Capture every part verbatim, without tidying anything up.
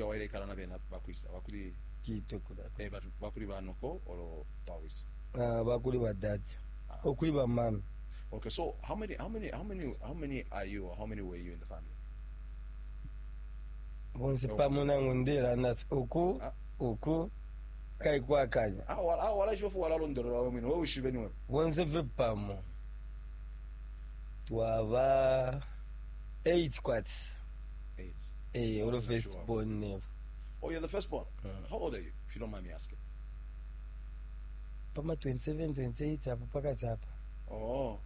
Wailekala na bena bakwisa bakuli? Kitwe kula. Eh, batu bakuli banoko olo bawisa? Ah, bakuli ba dad, okuli ba mama. Okay, so how many how many how many how many are you or how many were you in the family? Bonse pamo nangu ndelanda ati uku Ah. uku kaikwakanya. Ah, wala ah, wala shofu wala londolola we mwine, we ushibe niwe. Bonse fye pamo twaba eight kwati. Eight. Eh, olo first Sure. born never. Oh, you're the first born? Mm. How old are you, if you don't mind me asking? Pama twenty-seven twenty-eight apo pakati apa. Oh.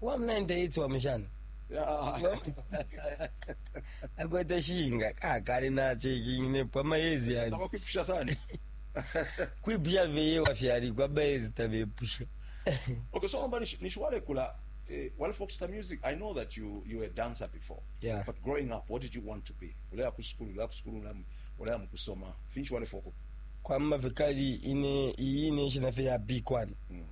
Wa ninety-eight wa mushana. Yeah. Akwete shinga kakale nacheking pama yezi yani. Tabakwipusha sana. Kwipusha veye wafyali kwabayezi tabepusha. Okay, so omba nishwale kula eh, wale Foxstar Music, I know that you you were a dancer before. Yeah. But growing up, what did you want to be? Ulaya ku school, ulaya ku school, ulaya mukusoma. Finshi wale foko. Kwamba vikali ine iyi nation fe ya big one. Mm.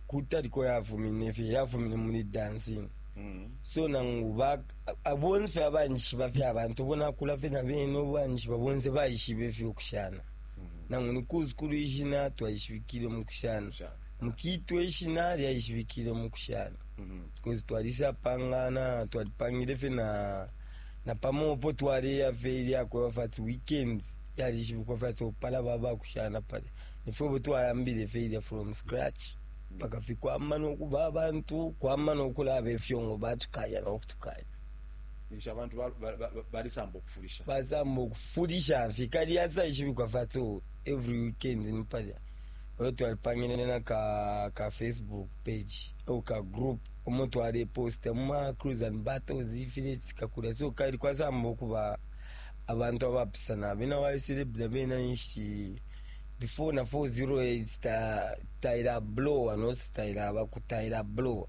Kutaliko yafumine fe yafumine muli dancing. Mm. So nangu ba abonse fe abanshi ba fe abantu bona kula fe na bene abanshi babonse baishibe fe okushana. Mm. Nangu ni kuzukulu ishina twaishibikile mu kushana. Shana. Mukitwe ishina lyaishibikile mu kushana. Mm. Because twalisapangana twalipangile fe na na pamopo twaleya fe ilyakweba fati weekends yalishibikwa fati opala baba kushana pale nifwebo twayambile fe ilya from scratch paka fi kwama nokuba abantu kwama nokulaba efyongo batukaya nokutukaya. Nisha abantu balisamba okufulisha. Basamba okufulisha fi kali yasaishibikwa fati oh, every weekend ni palya olwo twalipangile na ka, ka Facebook page ou ka group omo twaleposta muma cruise and battles ifile kakula so kali kwasamba okuba abantu abapisana bena waiselebula bena nshi before na four oh eight ta taila blower no taila bakutaila blower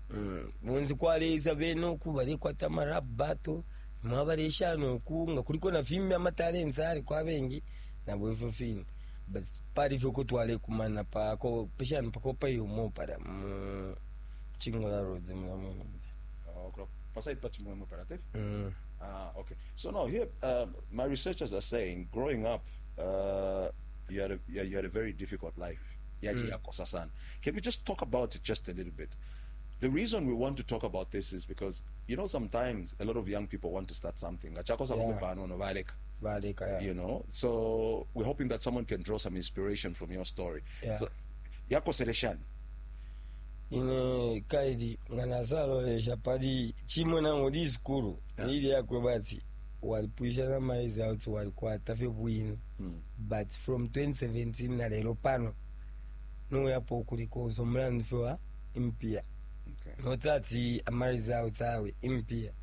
mm. Bonzi kwaleza bene oku balekwata ama rap battle mwabaleshana oku nga kuliko na fimbi ama talents ali kwabengi nabo ifyo fine but pali fyo kutwalekumana pako peshani pakopa yumo pala mu Chingola Roads mula. Oh, kula pasai pa chimwemwe pala te. Mm. Ah, okay. So now here, um, my researchers are saying, growing up, uh, you had a you had a very difficult life. Yali yakosa sana. Can we just talk about it just a little bit? The reason we want to talk about this is because you know sometimes a lot of young people want to start something. Achakosa Yeah. kufa no baleka. Baleka ya. You know, so we're hoping that someone can draw some inspiration from your story. Yeah. So, yakoseleshani. Ine kaidi nga nasalolesha pali chimwe nango lisukulu Yeah. ili yakwe bati walipwisha na ma results walikwata fye bwino. Mm. But from twenty seventeen na lero pano noyapo kulikonso omulandu fye wa impia. Okay. Notati ama results awe impia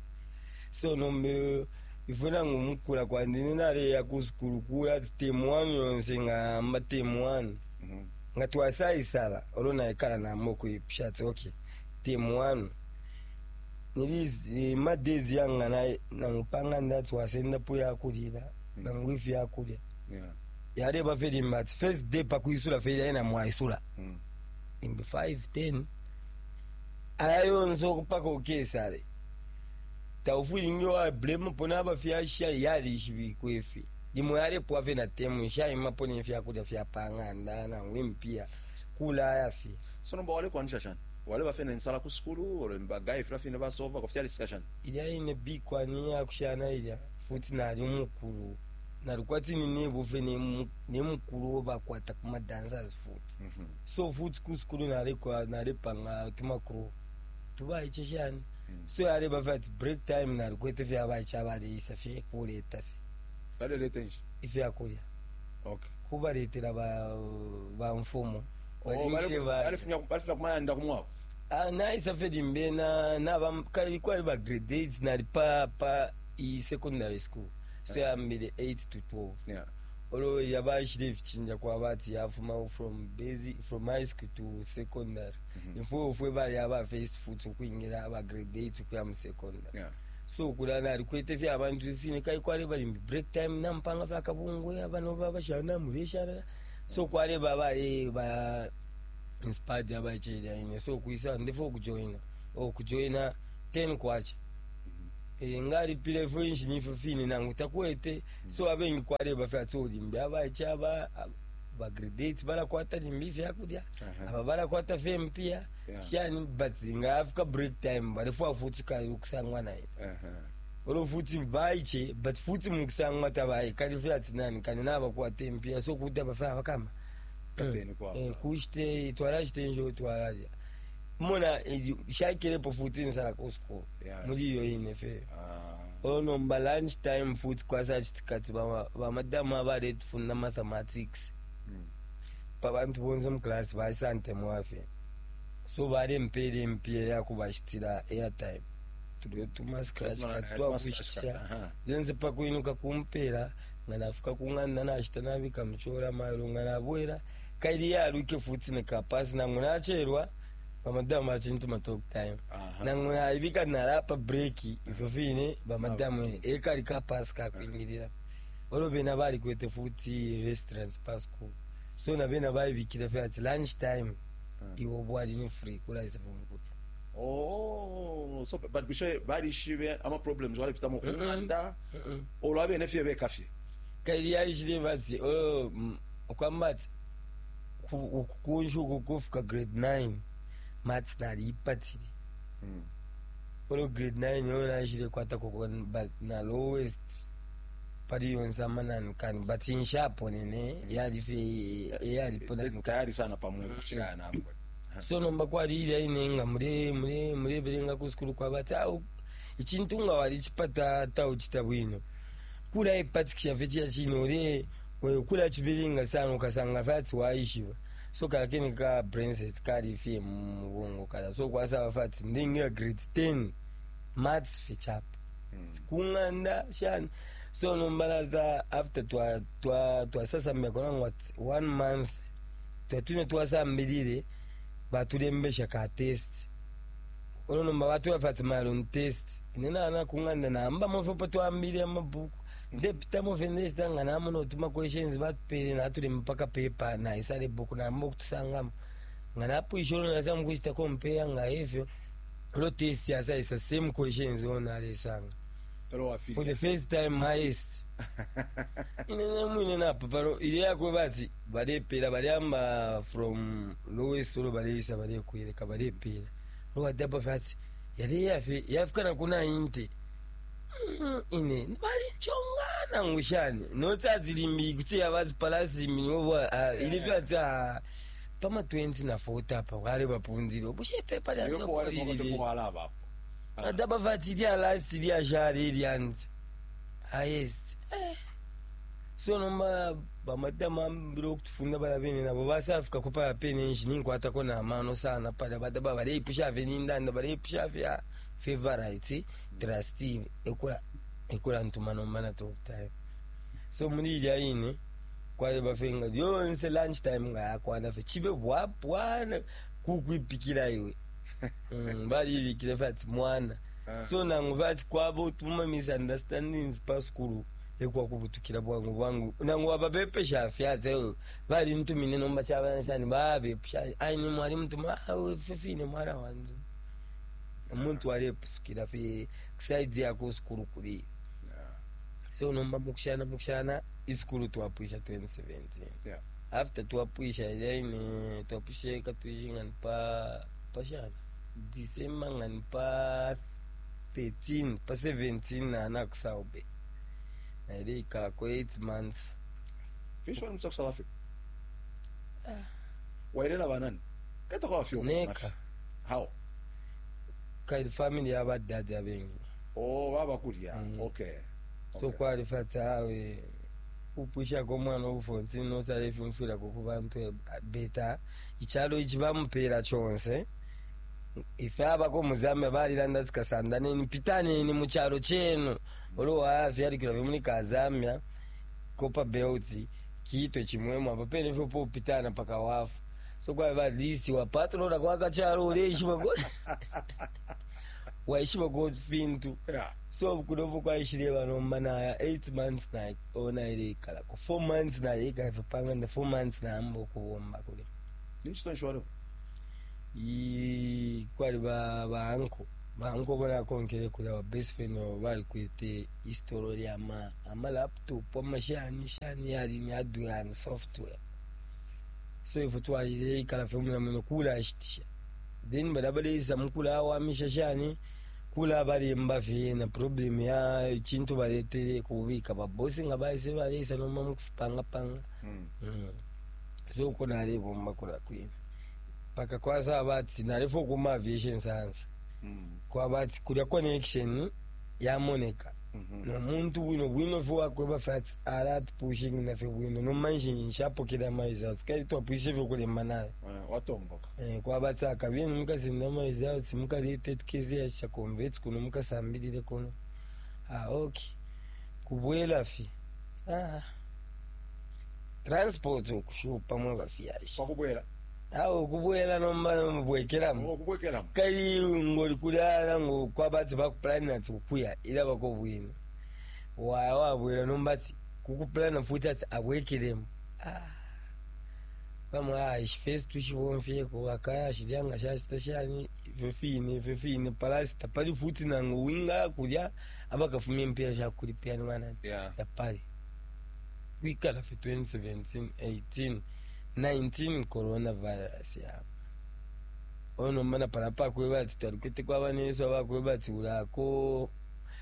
so nombe ifwe nangu mukula kwandi naleya ku sukulu kuya ati term one yonse nga mba term one. Mm-hmm. Nga twasayisala olwo naikala namba okuipusha ati okay term one nili ma days yanga na- nangupanga ndati wasendapo yakulila nangu ifi yakulya. Yeah. Yaleba fe limba ati first day pakuisula fe yaina mwaisula. Mm. Limbe five ten aya yonse okupaka okesale taufulingi wa blame pona abafyasha yalishibikwa ifi limwe yalepwa fe na temu shaimapo nefyakulya fyapanganda nangu impia kulaya fe. So nomba wale kuanisha shani? Wale bafena nsala ku skulu, wale mbagayi fila fina basova, kufyali chika shani? Ilya ine bikwani yakushana ilya futi nali mukulu nalikwati ninebufe nemukulu obakwata kuma dancers futi. Mm-hmm. So futi kusukulu nalekwa nalepanga tumakuru tubaiche shani. Mm. So yaleba fe ati break time nalikwete fye abaiche abaleisa fye kuleta fye. Bale lete nshi? Ifyakulya. Okay. Kubaletera ba ba mfumo. Oh, bale Balingile ba- bale funya bale funya kumayanda kumwako. Ah, naisa fe limbe na na kali kwali ba grade eight nali pa pa i secondary school so yambile eight to twelve. Yeah. Olwo yabashile efichinja kwaba ati yafuma from basic from high school to secondary. Mhm. Ifwe ufwe bali aba first futi okwingira aba grade eight okuya mu secondary. Yeah. So kula nalikwete fye abantu fine kali kwali bali break time nampanga fye akabungwe abano babashana muleshana so kwali babali ba inspired abacheja ine so kuisa ndifo okujoina okujoina ten kwacha. Eh, ngalipile ifyo inshi nifyo fine nangu takwete. So abengi kwaleba fye ati limbi abaiche aba bagrade balakwata limbi ifyakulya, Aha. aba balakwata fye mpia. Yeah. Yani, but nga afika break time balefwa futi kayo kusangwa naye. Uh-huh. Olo futi baiche, but futi mukusangwa tabayi kali fye ati nani kani nabakwata empia, so kuta bafe abakama. Kateni kwabo. Eh, kushite twalashite njo twalalya mona shaikelepo futi nsala ku school. Yeah. Muli iyo ine fe. Ah. Ono mba lunch time futi kwasachitikati bamadamu abaletufunda mathematics, Mm. pabantu bonse muklasi basantemwafe, so balempela empia yakubashitira airtime tulio tuma scratch Tuma- kati eh, tuma twakushitira. scratch card, aha. Lense pakuinuka kumpela nga nafuka kung'anda nashita nabika muchola mailo nga nabwera kaili yaluke futi nekapasi nangu nacherwa bamadamu bachintuma talk time. Aha. Nangu naibika nalapa break ifyo fine bamadamu ekali kapasi kakwingilira. Olwo bena balikwete futi restaurants pa school, so na bena baibikile fe ati lunch time iwo bwali ni free kulaisa fumukulya. Oh, so but bushe balishibe ama problems walipitamo kung'anda olwo abene fye bekafye? Kaili yaishile bati, oh, mm, okwamba ati kunshuku kufika grade nine maths naliipatile. Olo grade nine yo naishile kwatako but na lowest pali yonse amanani kani, but inshapo nene yalife yalipo nani. Tayari sana pamulu kuchikaya nangwe. So nomba kwali ilya ine nga mule mule mulebelenga ku sukulu kwabati au ichintu nga walichipata tauchita bwino kula ipatikisha fye chiya chino ule we kula chibelenga sana ukasanga fati waishiba, so kalakini ka brainset kali fye mubongo kala, so kwasaba fati ndingira grade ten maths fye chapa kung'anda shani. So nombalaza after twa twa twasasambia konangwa ati one month twatune twasambilile batulembesha ka test. Olo nomba batwefa ati test ine nana kung'anda namba mofe po twambile amabuku ndepitamo fe ndechita nga namona otuma questions batupele natulemba paka paper naisale buku namba okutusangamo nga napwisha. Olo nasa mukuchita compare nga efyo olo test yasaisa same questions ono alesanga. Pero For the wafika. first time highest ine nemwine napa pano ile yakwe bati balepela baliamba from lowest, olo baleisa balekweleka balepela lowatapa fati yali yafe yafika na kuna inte. Mm, ine balinchonga nangushani notsadzilimbi kuti yavazipalasi miniobwa ili fyati pama twenty na forty apa kwale bapunzile obushe pepa. Yopo wale mwakote kuwalaba hapo. Adaba vati lya last lyashali ilyanzi highest, eh. So nomba bamadamu ambile okutufunda bala bene nabo basafika kupala pene nshi ninkwatako namano sana pala badaba baleipusha fe nindanda baleipusha fe ah, favorite trustee ekula ekula ntuma nomba na talk time. So muli ilya ine kwali bafenga yonse lunch time nga yakwana fe chibe bwapwana kukwipikila iwe. Mm, balibikile fati mwana. So nangu vati kwaba utuma misunderstandings pa skulu ekwakubutukila bwangu bwangu nangu wababepesha fyatse bali ntumine nomba chabana shani babepusha aini mwali mutuma fefine mwana wanzu omuntu alepusukila fe kusaidi yako skulu kuli. Yeah. So nomba mukushana mukushana iskulu twapwisha twenty seventeen. Yeah. After twapwisha ilaine twapwisha katuishi ngani pa pashana December ngani pa thirteen pa seventeen nana kusaube naile ikalako eight months. Fish wali mutsa South Africa. Wailela banani? Kata kwa wafio. Neka. How? Kaili family yabadadi abengi. Oh, baba kulya. Mm. Okay. So Okay. kwali fati awe upwishako omwana obufonsi nosala efimfwirako ku bantu beta ichalo ichi bamupera chonse ife abako muzambia balilanda tikasanda neni pitaneni muchalo chenu olo wafyalikilwa fye muli kazambia kopa belt kiitwe chimwemwe apa pene fyo popitana paka wafa, so kwali balisi wapatrola kwakachalo uleishiba ko waishiba ko fintu. Yeah. So kunovo kwaishile vanomba naya eight months na ona ile ikalako four months naye ikaife panganda four months naamba okubomba kule. Ninchi tonshi wale? I kwali ba ba uncle Ba uncle nakonkele kulya ba best friend babo balikwete isitolo lya ama ama laptop amashani shani yali ni hardware and software. So ifwe twaileikala fye muna muno kulashitisha. Then balya baleisa mukulawamisha shani kulabalemba fye na problem ya chintu baletele kubika ba boss nga baise baleisa noma mukufipangapanga. Mm. Mm. So uko nalebomba kula kwine paka kwasaba ati nalefo kuma aviation science. Mm. Kwaba ati kulya connection yamoneka. Mhm. No muntu bwino bwino fye wakweba fye ati alatupushing nafe bwino nomanshi nshapokele ama results kali twapwishe fye kulemba naye. Eh, watomboka. Eh, kwaba ati akabini mukasinda ama results mukalete tukeze yasha convert kuno mukasambilile kuno. Ah, okay. Kubwela fye. Ah. Transport okushupa mwe bafyashi. Kwakubwela. Awo kubwela nomba mubwekelamo. Okubwekelamo. Kali ngoli kulala ngo kwabatsi bakuplana ati kukuya ila bako bwino. Waya wabwela nomba ati kukuplana futi ati abwekelemo. Ah. Bamwe ah ishi tushibomfyeko akaya shilyanga shashita shani ifyo fine ifyo fine palasi tapali futi nangu winga kulya abakafumya empira shakulipira ni banani. Yeah. Tapali. Kwikala fye twenty seventeen, eighteen, nineteen coronavirus yabo. Ono mana palapa kweba ati twalikwete kwaba neso abakweba ati ulako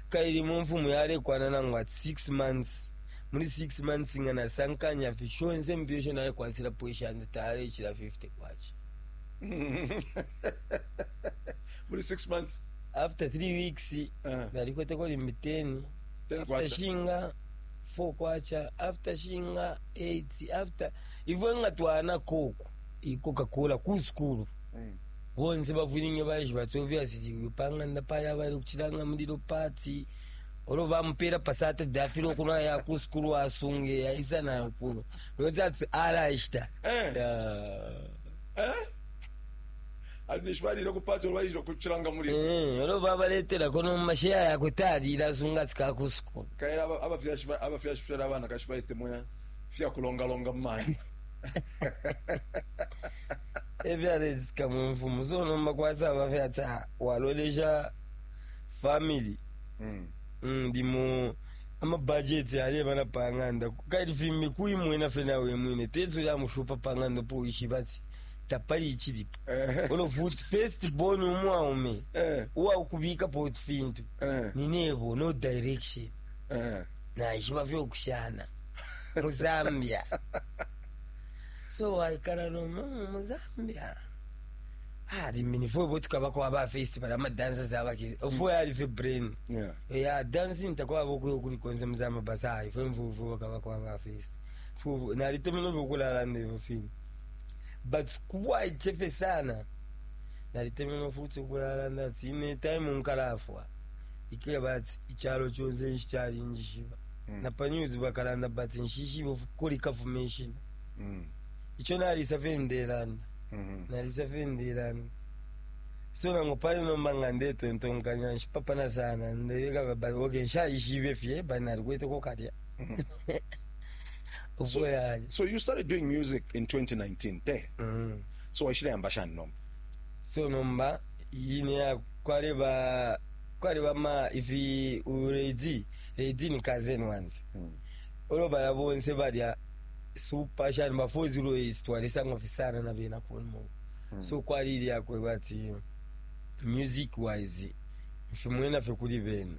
kaili mu mfumu yalekwana nangu ati six months. Muri six months nga nasankanya fye shonse mpyo naye kwatsirapo ishanzi talechira fifty kwacha. Muri six months. After three weeks Uh, nalikwete ko limbi ten. ten After kwacha. shinga four kwacha, after shinga eight, after ifwe nga twana coke i-Coca-Cola ku school. Mm. Bonse bavulinge bayishi bati obviously upanganda pali abali kuchilanga mulilo party olo bamupera pa Saturday afile okunwa ya ku school asunge yaisa nayo kuno noti ati alaishita. Eh. Yeah. Eh? Ali nishbalire ku party olwayije kuchilanga mulilo. Eh, olo babaleterako nomumasheya yakwe talira asunga ati kaku school. Kaera abafyashi abafyashi fyala abana kashibaite moya fya kulonga longa mmani. Evyaletsika mumfumu so nomba kwasaba fyati walolesha family. Mm. Ndimo amabudget aleba na panganda kaili fimbi kuimwena fena wemwine tetso lya mushupa panganda po ishibati tapali ichilipo. Eh. Olo futi first born umwaume Eh. uwa ukubika po fintu Eh. ninebo no direction. Eh. Na ishiba fyo kushana mu Zambia. So waikala no mu Zambia. Ah, limini fo bo tukaba kwa ba festival ama dancers abake. Ofo ya life brain. Yeah. Ya dancing takwa bo kuyo kuli konse mzama basa ifo mvuvu bakaba kwa ba fest. Fuvu na litemeno vokulala ndivyo fini. But kubwa ichefe sana. Na litemeno futi kulala ndati ine time nkalafwa. Ikiya bati ichalo chose nchichali njishiba. Mm. Na pa news bakalanda bati nshishiba kuli kafumation. Mm. Icho nalisa fendelana. Mm. Nalisa fendelana. So nango pale nomba nga ndetontonkanya nshipapana sana ndebeka ba okay nshaishibe fye ba nalikwete ko kalya. So, Uboya. so you started doing music in twenty nineteen te. Mm. So waishile ambashani nomba. So nomba yine ya kwale ba kwale ba ma ifi uredi redi ni cousin ones. Mm. Olo bala bonse balya super shani ba four zero eight twalisa ngofisana na bena kuno. Mm. So kwali ili yakwe bati music wise mfimwena fe kuli bene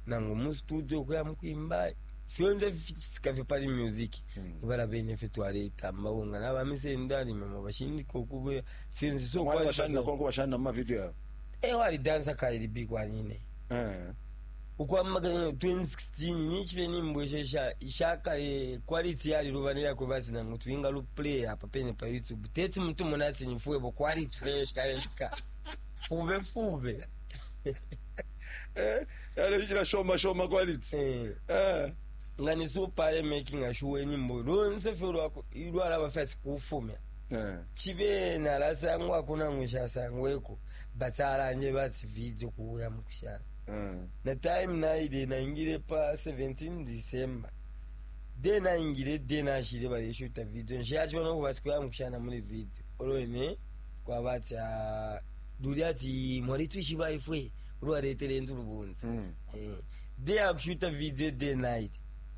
nango mu studio kuya mukwimba fyonse fichitika fye pali music. Mm. Ibala bene fe twaleta mbawonga n'abamisendo alime mu bashindika okube fyonse so Mwali kwali bashani na konko bashani na ma video yao. Eh wali dancer kaili big nyine. Eh. Ukwamaga twenty sixteen nichife nimbweshesha ishakale quality yali lubanira kwe basi nango twinga lu play apa pene pa YouTube. Teti mtu munatsi nifuebo quality fresh kaishika. Fube fube. Eh, yale ila shoma shoma quality. Eh. Eh. Ngani so pale making a show nyimbo. Lonse fe lwako ilwala bafati kufumya. Eh. Chibe nalasangwa kuna ngushasangweko. Batalanje bati video kuya mukushana. Eh. Na time na ile naingile pa seventeen December. De naingile de nashile bali shoot video. Nshacho no kubati kuya mukushana muri video. Olwene kwa bati a duli ati mwali tuishiba ifwe. Ulwaletele ntulubunzi. Mm. Eh, day akushuta video day night.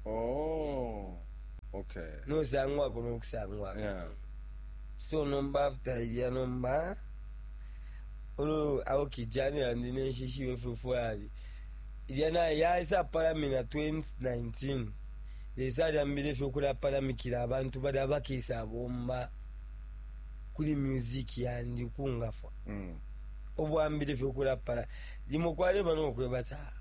Oh, okay. Nosangwako nokusangwako. Yeah. So nomba after ilya nomba ulo okay jani yandi nenshishiwe fefwali ilya naye yaisa palamina twenty nineteen lesa alyambile fye okulapalamikila abantu bali abakesa bomba kuli music yandi kungafwa. Mm. Obwambile fye okulapala limo kwaleba nokweba ti, "Ah,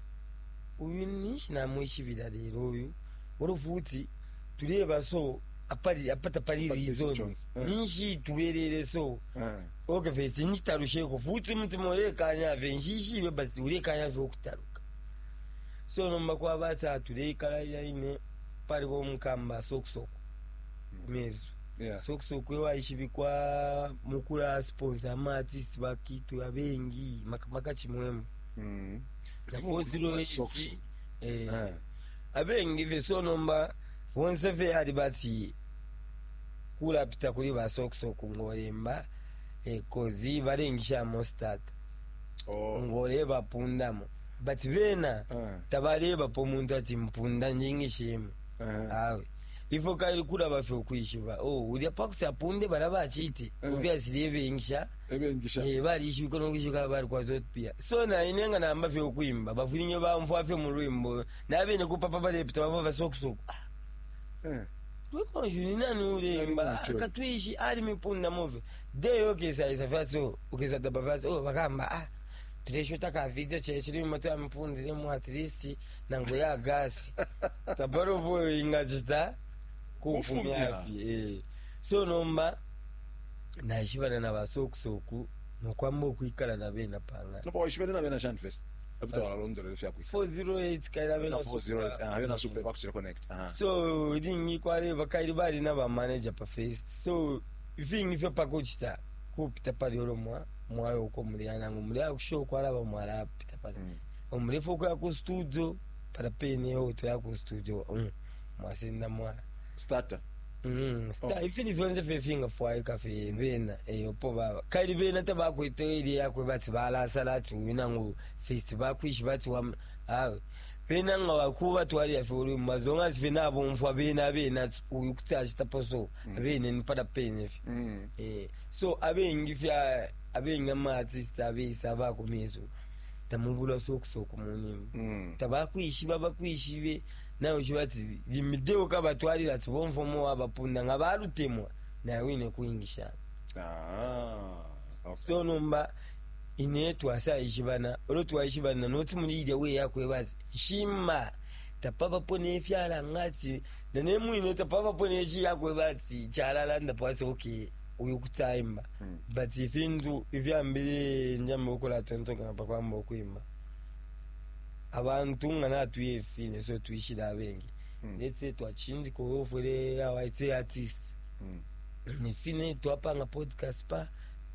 uyu ninshi namwishibila lero uyu olo futi tuleba so apali apata pali Apali reason Jones. Eh. ninshi tubelele so." Eh. Okay, first nchitalusheko futi umutima ulekanya fe nshishibe but ulekanya fe okutaluka. So nomba kwaba ati atuleikala ine paliko omukamba sokusoko kumezu. Yeah. Sokusoko ewaishibikwa mukula sponsor ama artist bakitu abengi maka chimwemwe Mm. na four zero eight. Sokusoko. Eh, Eh. abengi fe. So nomba bonse fe ali bati kulapita kuli basokusoko ngolemba eh, kozi balengishamo start Oh. ngoleba pundamo but bena Eh. tabalebapo omuntu ati mpunda njingishemu. Eh. Awe ifo kaili kulaba fe okwishiba oh ulya pakuti apunde bala bachite. Eh. Obviously ebengisha. Ebengisha. Eh, balishibika nokwishika bali kwazotpia. So naine nga namba fye okwimba bafulinye bamfwa fye mu lwimbo nabene kupapa balepita bava basokusoko. Eh. Lwimbo nshuni nani ulemba? Nani ucho? Katwishi ali mipunda move deyo okesaisa fyatso okesa daba fyatso oh bakamba ah tuleshota ka video chechilimo twamipunzilemo at least nango ya gasi tapalopo ingachita Kufumya. kufumya eh. So nomba naishibana na basokusoku nokwamba okwikala nabena panga. Nopa waishibene na bena shani first. After walondolele fya kwika. four zero eight kaila Bena bena. four zero eight. Ah, bena super bakuchira connect. Ah. So lingi kwaleba kaili bali na bamanager pa first so ifingi fyo pakuchita kupita pali olo mwa mwayo uko muli anangu muli akushow kwalaba mwalapita pali. Mm. Omulefu okuya ku studio pala pene otoya ku studio mm. mwasenda mwa Starter. Mm, sta Oh. ifili fyonse fefinga fwaika fe bena eyo po baba kaili bena tabakwete ili yakwe bati balasala ati uyu nangu first bakwishi bati wam awe bena nga wakuba twali yafe uli as long as fena abomfwa bena bena ati uyu kuti achitapo so abene nipada pene fe. Mm. Eh, so abengi fya abengi ama artist abesa abakumeso tamubulwa sokusoko munimba. Mm. Tabakwishiba bakwishibe nawe shibati limideo kabatwalira ati bomfomo wabapunda nga balutemwa nawe wine kuingisha. Ah. Okay. So nomba ine twasayishibana olwo twayishibana noti mulilya we yakweba ati shima tapapapo nefyala ngati nanemwine tapapapo nechi yakweba ati chalalanda pwati okay uyu kutayimba. Mm. But ifintu ivyambile njamba okola tontonkana pakwamba okwimba abantu nga natuye efine so twishira abengi. Mm. Let's say twachindika ofwele awaite artist. Mm. Nifine twapanga podcast pa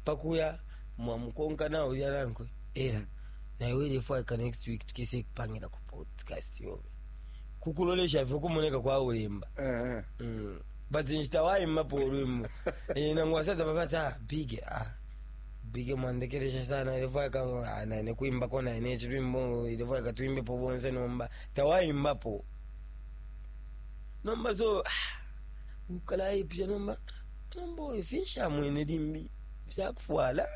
pakuya mwamukonka nawe ulya nankwe era naye ilefwaika next week tukese kupangira ku podcast yobe kukulolesha fye kumoneka kwa ulemba. Eh. mm. but nchita waimbapo olwimbo eh, nangu asata babati ah big ah big mwandekeresha sana ilefwaika ah, naine kuimbako naine chilwimbo ilefwaika tuimbepo bonse nomba tawaimbapo nomba so ah, ukalaipisha nomba nomba oyo finsha mwene limbi fyakufwala.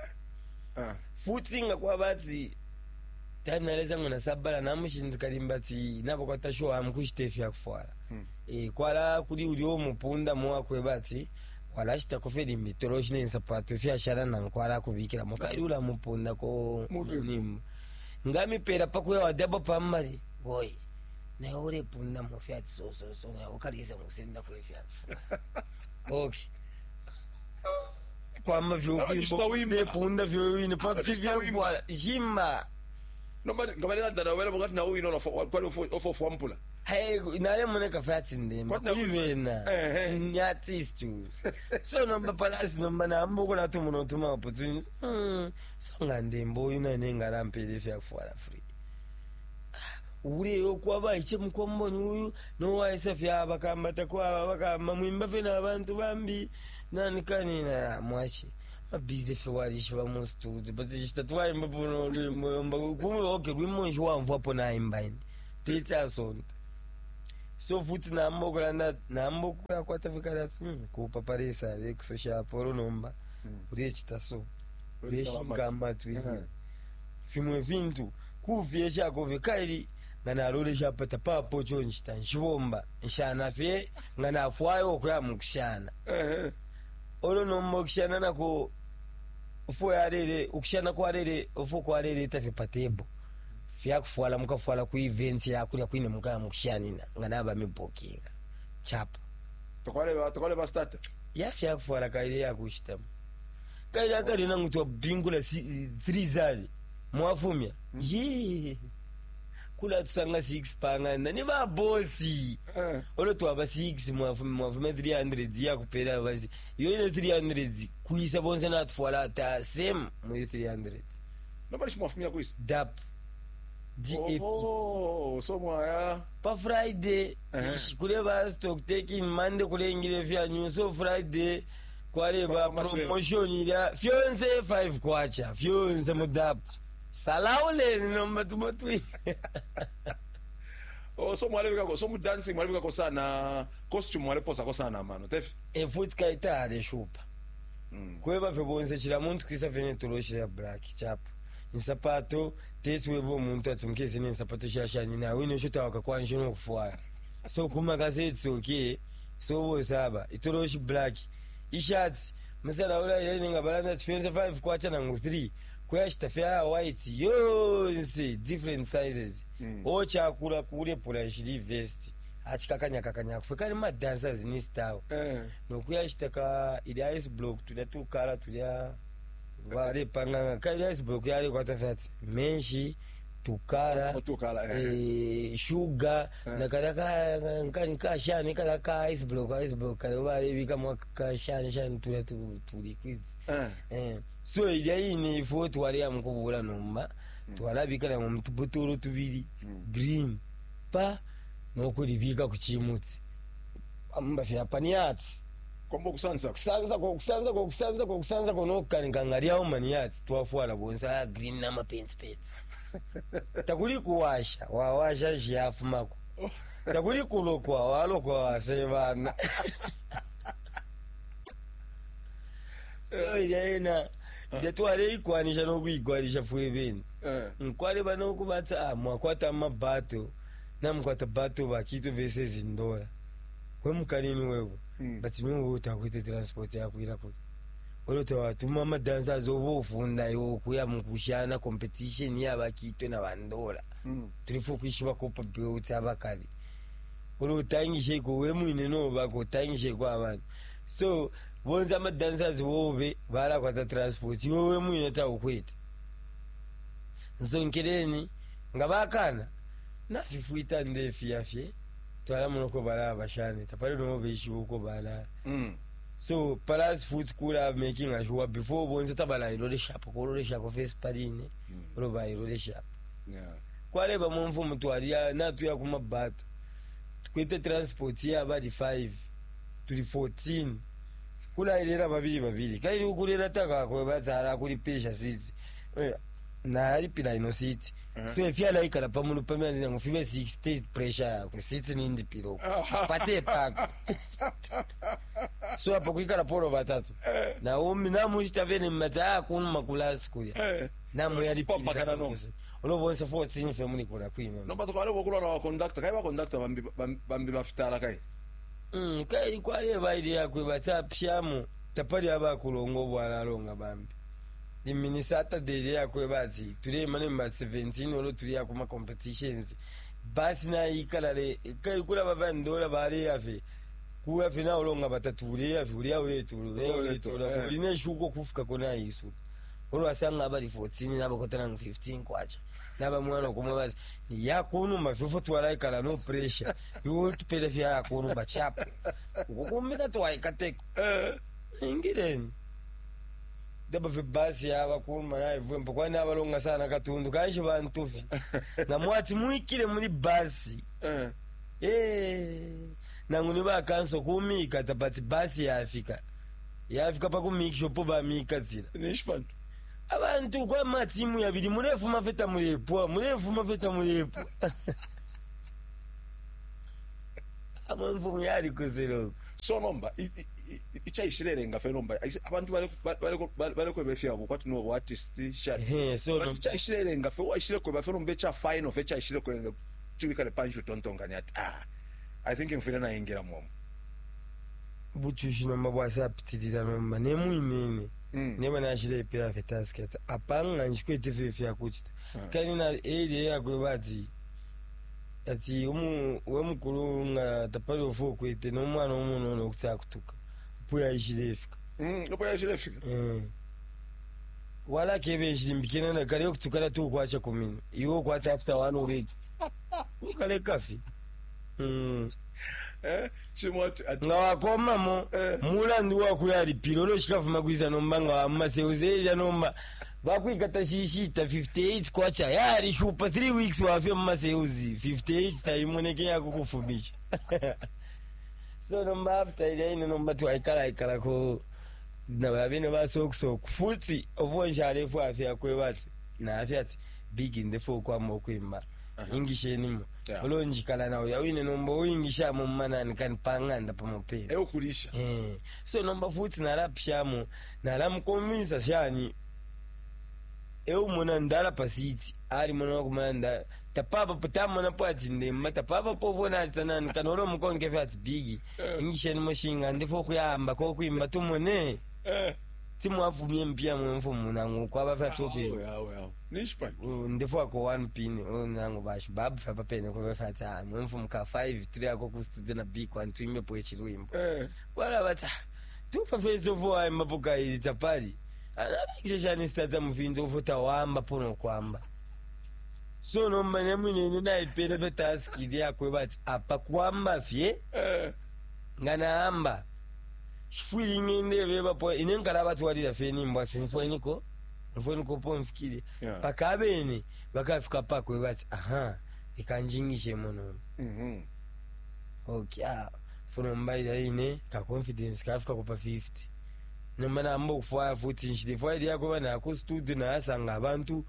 Ah. Futi nga kwabati time naleza ngo nasabala namushindika limba ati nabo kwatashowa amukushita ifyakufwala. Mm. E, kwala kuli uli omupunda muwakweba ati walashitako fe limbi toloshi nensapato fyashala nankwala kubikilamo kali ulamupundako. Mulwimbo. Nimbo ngamipela pakuya wadabo pamali boy naye ulepundamo fyati sososo naye ukalisa musendako ifyakufwala okay kwamba Abachita vyopunda vyoine pakuti Abachita wimba. vyakufwala shima. Nomba ngabalelanda nawe wena bokati nawe ino kwali ofo fwampula. Hey, naye muneka fati ndemba Kwati na- kuli bena Eh, eh. ni artist uyu. So nomba palasi nomba nambokola tumuno tuma opportunity mm. So nga ndemba uyu nane ngalampela ifyakufwala free. Uleyo kwaba iche mukomboni uyu nowaisa fyabakamba takwaba bakamba mwimba fe n'abantu bambi nanikanina mwache Mabize fe walishiba mu studio, but ishita twaimba puno lwimbo kumwe. Okay, lwimbo nshi wamvwapo naimba ine techasondo. So futi namba okulanda, namba okulakwata fikala kupaparesa lekusoshapo olunomba ulechita so uleshinga amatwi fimwe fintu kufyeshako fye kaili nga nalolesha pata papo chonchita nshibomba nshana fye nga nafwayo okuya mukushana. Olo nomba okushana nako ufo yalele ukushana kwalele ufo kwaleleta fye pa table fyakufwala mukafwala ku events yakulya kwine mukaya mukushanina nga naba mibokinga chapa. Tokwale tokwale ba start. Ya fyakufwala kaile yakushitamo kaile akali nangu twabingula three zali mwafumya ye kula tusanga six panganda ni babosi. Olo twaba six, mwafumya mwafumya three hundred yakupela basi iyo ine three hundred kuisa bonse natufwala ata same muri three hundred. Nobody mwafumya kwisi. D A P, D A P. Oh, so mwaya. Pa Friday Uh-huh. kuleba stock taking, Monday kulengile fyanyu, so Friday kwaleba Kwa masale. promotion ilya fyonse five kwacha fyonse mu D A P salauleni nomba tumotwi. Oh, so mwalebika ko so mu dancing mwalebika ko sana costume mwaleposa ko sana mano tefi. Efuti kaitale shupa kweba fye bonse chila muntu kwisa fene toloshi ya black chapa insapato tesi webo omuntu ati mukese nensapato shashani nawe ine shotawaka kwanisho nokufwaya so kuma kasetsoke so bose aba itoloshi black ishati musala ula ile nga balanda ati fyonse five kwacha nangu three kuyashita fya white yonse different sizes mm. Ochakula kulepula shili vest achikakanyakakanya kufe kali ma dancers ni style. Eh. Nokuyashita ka ili ice block tulya tukala tulya valepanganga ka ili ice block yalekwata fyati menshi tukala. Tukala eh. Eh, shuga na kalya ka kashani kala ka ice block ice block kale valevika kashani shani tulya tu liquids. Eh. Eh, so ilya ine ifo twaleya mukuvula nomba twalabika na mutubutulu tubili green pa nokulibika kuchimutsi amba fyapaniatsi. Kombo kusansa. Kusanza ko kusanza ko kusanza ko kusanza ko nokukanika ngalyawo maniatsi twafwala bonse aya green namapenti penti takuli kuwasha wawasha xiyafumako takuli kulokwa walokwa wasevana. So ilya ina ilya twaleikwanisha nokuikwanisha fweveni. Eh. Nkwale banokubatsa ah, mwakwata amabato namukwata bato bakito versus ndola wemukalini wewe. Mm. But niwe utakwite transport yakwira kuti olota watuma amadancers oba ofunda iwe okuya mukushana competition yabakito na bandola. Mm. Tulifa okwishiba kopa belt abakali olo otangisheko we mwine nobaka otangisheko abantu so bonse amadancers bobe balakwata transport iwe we mwine taukwete nsonkeleni nga bakana nafifuita ndefiyafye twala munoko bala bashane tapali nomo beishiba uko bala. Mm. So plus futhi kula making sure before bonse tabalayiloleshapo kololeshako face paline olo bayiloleshapo. Yeah. Kwaleba mumfumu twaliya natuya kumabato tukwete transport yabali five tuli fourteen kulayilila babili babili kaili ukulela takakwe batsala kulipisha sisi nalipila ino siti so ifyalaikala pamulu pamyanzi nangu fibe sixty pressure yakwe siti nindipila pate pako so apo kuikala polo batatu naumi namuchita vene mmati akunuma kulasi kulya. Eh. Popakana no. Namuyalipilira olo bonse fourteen fe mulikula kwine. Nomba tukwale bokulwa na conductor kai ba conductor bambi bambi bafitala kai. Mm, kai kwaleba ili yakwe batsapyamo tapali abakulonga obwalalonga bambi limini Saturday ili yakwe bati tulema nemba seventeen olo tuliya kuma competitions basi nayikalale kai kula bavandola baleyafe kuyafe naolonga batatu uleyafe uliya uletula uleya uletula. Eh. Uline shuko kufika konayisu olo asanga abali fourteen nabakotananga fifteen kwacha nabamwana kumwe basi yakunuma fyofo twalaikala no pressure iwe tupele fya yakunuma chapo ukukumika twaikateko. Eh. Ingileni daba fe basi yabakuluma naivwempo kwani abalonga sana katundu kanshi bantufi nga mwati mwikile muli basi. Eh. Eh, nangu ni bakanso kumikata but basi yafika. Yafika pa kumikisha po bamikatsila. Ninshi pano? Abantu kwa matimu yabili mulefuma feta mulepwa, mulefuma feta mulepwa. Amwe mfumu yali kuselo. So nomba i- i- i- ichaishilelenga fe nomba abantu balekweba ifyabo kwati no artist sha. Ehe, so But nomba ichaishilelenga fe waishile kweba fe nomba cha final fe chaishile kwenga tuwikale panshi utontonkanya ati ah, I think mfile naingira momo. Buchushi nomba bwasapitilila nomba nemwinene. Mm. Neba nashilepela fe task ati apanga nchikwete fe fyakuchita. Mm. Kani na area yakwe bati ati umu we mukulu nga tapali ofu okwete n'omwana omunono okuti akutuka puya ishilefika. Mm, opo yaishile fika. Eh. Wala kebe ishimbikena na kale okutukala tukwacha kumino iwe okwata after one week ukale kafi. Mm. Eh, chimo ati ati Nga wakomamo Eh. mulandu wakuyalipila olwo shikafuma kwisa nomba nga wamumaseuzeja nomba bakwikata shishita fifty-eight kwacha yalishupa three weeks wafye mumaseuzi fifty-eight taimoneke yakukufumisha. So nomba after ilya ine nomba twaikalaikalako na babene basokusoku futi ovonshalefu afye akweba ati nafye ati big ndefo okwamba okwimba ingishenimo. Yeah. Olonjikala nawe yawine nomba oyingishamo mumanani kani pang'anda pamopera. Eukulisha. Eh, so nomba futi nalapishamo nalamukonvinsa shani eumona ndala pasiti ali mona wakumana nda tapapa potamona po ati ndemba tapapa povona ati tanani kana olo mukonkefe ati bigi ingisheni moshinga ndifo okuyamba kokwimba tumone. Eh. Timwafumye mpya mwemfu munangu kwaba fyatoke. Awe awe awe. Ninshi pano? Ndifo ako one pin nangu bashi babu fyapa pene kuva fyati ah mwemfu muka five three ako ku studio na big one tuimbe po echilwimbo. Eh. Wala bata tupa first of all aimba pokaili tapali analakisha stata mufindu ufuta wamba pono kwamba. So nomba nemwinene naipele fe task yakwe bati apa kwamba fye. Eh. Nga naamba shifwili ngende bebapo ine nkala batwalira fye nimbo ati nfweniko nfweniko po nfikire. Yeah. Paka abene bakafika pakwe bati aha ikanjingishe muno. Mhm. Okay, ah, funo mbaira ine ka confidence kafika kupa fifty nomba namba okufwaya futi nshile fwaya lyakuba nako studio nayasanga abantu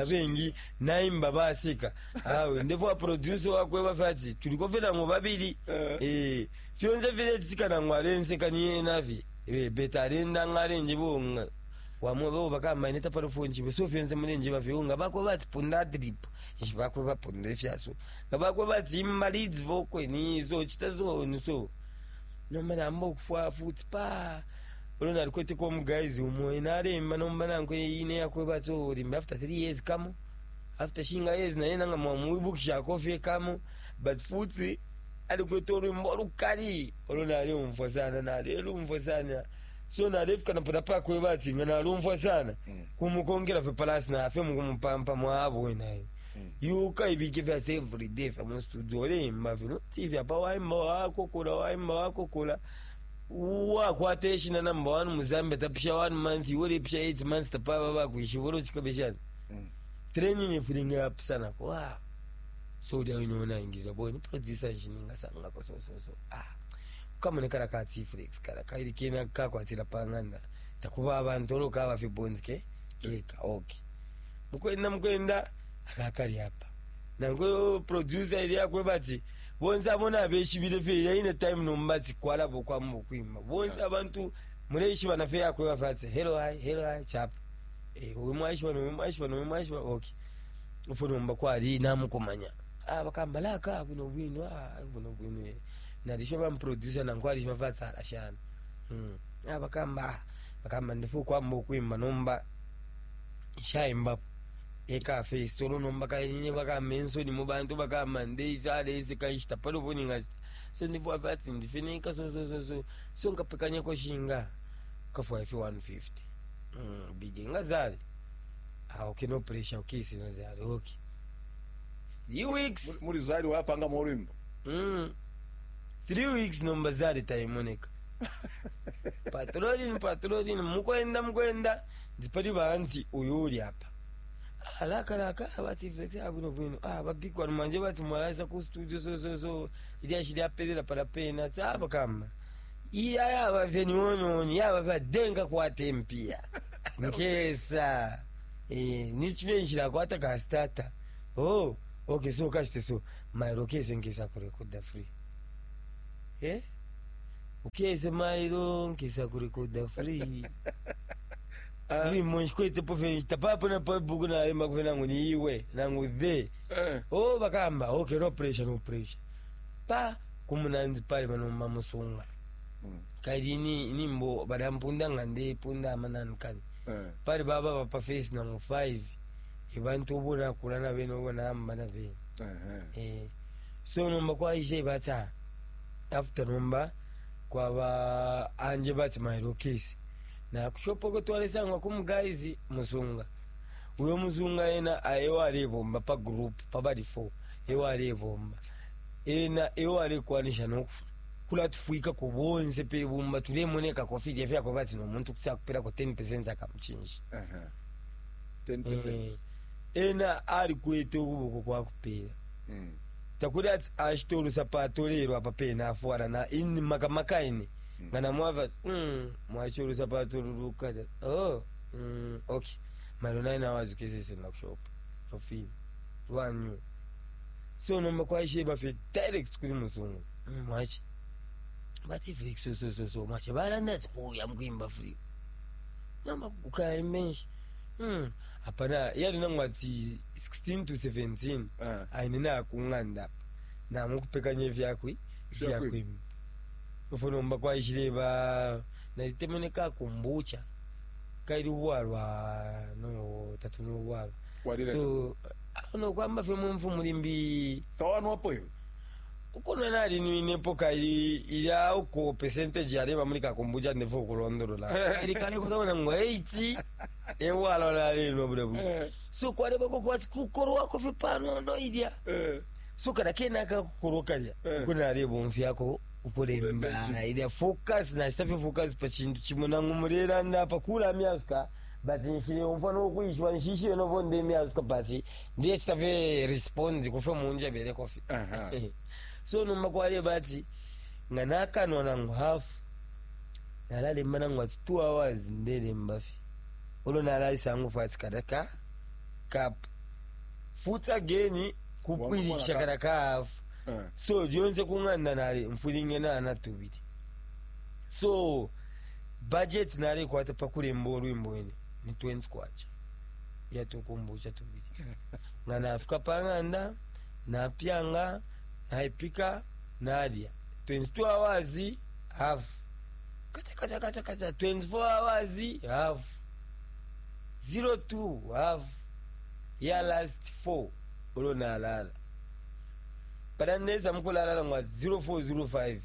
abengi naimba baseka awe ndefo producer wakwe bafati tuliko fena ngo babili. Eh. Eh, fyonse vile tisikana ngo alenseka niye navi eh beta alenda ngalenje bonga wamwe bo bakamba ine tapalo fonji so fyonse mulenje bafyonga bakwe bati punda drip bakwe bapunda ifyaso bakwe bati imba leads vocal ni so chita so ni so nomba namba okufwa futi pa olwo nalikwete ko omuguys umwe nalemba nomba nankwe ine yakwe bati olimba after three years kamo after shinga years naye nanga mwamuibukishako fye kamo but futi alikwete olwimbo olukali olwo nalumfwa sana nalelumfwa sana so nalefika napoda pakwe bati nga nalumfwa sana. Mm. Kumukongera fe palasi nafe mukumupampa mwabwe naye. Mm. Yuka ibike fyase everyday fya mu studio olemba fino tv apa waimba wakokola waimba wakokola wakwata eshina number one mu Zambia tapisha one month iwe pisha eight months tapava bakwishiba olwo chikabeshana. Mm. Training efulinga yapisanako wa so ulya wine onayingirira boy ni producer nshininga sangako so so so ah kamonekala ka T-Flex kala kaili kena kakwatira panganda takuba abantu olwo kaba fi bonds ke keka okay mukwenda mukwenda akakali apa nangwe producer ili yakwe bati bonse abona abeshibile fe yaine time nomba kwalabo kwamu kwima bonse abantu muleishiba na fe yakwe bafati hello hi hello hi chap eh uyu mwaishiba no mwaishiba no mwaishiba okay ufuna mba kwali namukumanya ah bakamba laka kuno bwino ah kuno bwino nalisho ba producer nankwali bafati alashana mm ah bakamba bakamba ndifu kwamba kwima nomba shaimba eka face solo nomba kainye bakamba ensoni mu bantu bakamba ndeisa alese kaishita palo vuninga so ndifu afati ndifinika so so so so so nkapekanya ko shinga kafwa fi one fifty mm big ngazali ah okay, no pressure, okay, sino zali okay three weeks. Muli- Muli zali wapanga molwimbo. mm three weeks nomba zali taimoneka patrolling patrolling mukwenda mukwenda ndipali banti uyu uli apa ah, laka laka bati flex ah bwino bwino ah babikwa manje bati mwalaisa ku studio so so so ili ashili apelela pala pena tsa bakamba Iya yaba fye niwoniwoni yaba fye denga kwata empiya nkesa eh, nichive nshila kwata ka starter. Oh, okay, so kashite so mailo kese nkesa kurekoda free, eh ukese mailo nkesa kurekoda free. Lwimbo nshikwetepo fye nshita papo na pabuku nalemba kufe nangu ni iwe nangu the. Eh. Oh, bakamba okay, no pressure, no pressure pa kumunanzi pale banomba musunga. Mm. Kali ni nimbo badampunda nga ndepunda amananu kali. Eh. Pali baba bapa face nangu five ebantu obona kula na bene obona amba na bene. Eh. Eh, so nomba kwaishe bata after nomba kwaba anje bati mailo kesi na kushopoko twalesangwa kumuguys musunga uyo muzunga ena ayewo alebomba pa group pabali four ewo alebomba ena ewo alekwanisha nokufu kulatufwika ku bonse pe bumba tulemoneka kofilya fyako bati nomuntu kuti akupelako ten akamuchinji. Eh. ten percent. Eh, ena alikwete ukuboko kwakupela. Mm. Takuli ati ashita olusapato lero apa pene afuara na ini makamaka ine nga namwava mm, mwachi olusapato lulukata. Oh, mm, okay, malo nine hours ukesese nakushopa for free lwanyu. So nomba kwaishe bafe direct kuli muzungu. mm, mwachi bati Felix, so so so so mwachi balanda ati kuya mkwimba free namba kukaimbenshi mm. Apana yali nangu ati sixteen to seventeen. Eh. Aine nakung'anda namukupekanya evyakwi Vyakwimba. vyakwimba ufo nomba kwaishile ba nalitemene kakumbucha kaili ubwalwa no tatu nobwalwa. Walile. So ano kwamba fye mumfu mulimbi. Tawanwapo iwe. Ukono nalinwinepo kaili ilya uko percentage yaleba muli kakombucha ndefu okulondolola ili kale kutawona ngo eighty ewalwa nalinwa bule bule. Eh. So kwalebako kwati kukorwako fye panono ilya. Eh. So kada kena kakukoro kalya. Eh. Uko nalebomfyako ukulemba ilya focus nasitafye focus pa chintu chimwe nangu mulera ndapa kula myasuka but nshile umfa nokwishwa nshishiwe novo nde myasuka but ndiye chitafye response kufe munja bele kofi. Aha. So nomba kwale bati nga nakanwa nangu hafu nalalemba nangu ati two hours ndelemba fi ulo nalaisangu fati kada ka cup futi again kupwilikisha kada ka hafu. Eh. So lyonse kung'anda nali nfulinge nana tubili so budget nalekwata pakulemba olwimbo ine ni twenty kwacha yatukumbucha tubili nga nafika pang'anda napyanga naipika nalya twenty-two hours half kacha kacha kacha kacha twenty-four hours half zero two half ya last four ulo nalala pada ndeza mukulalala ngwa zero four zero five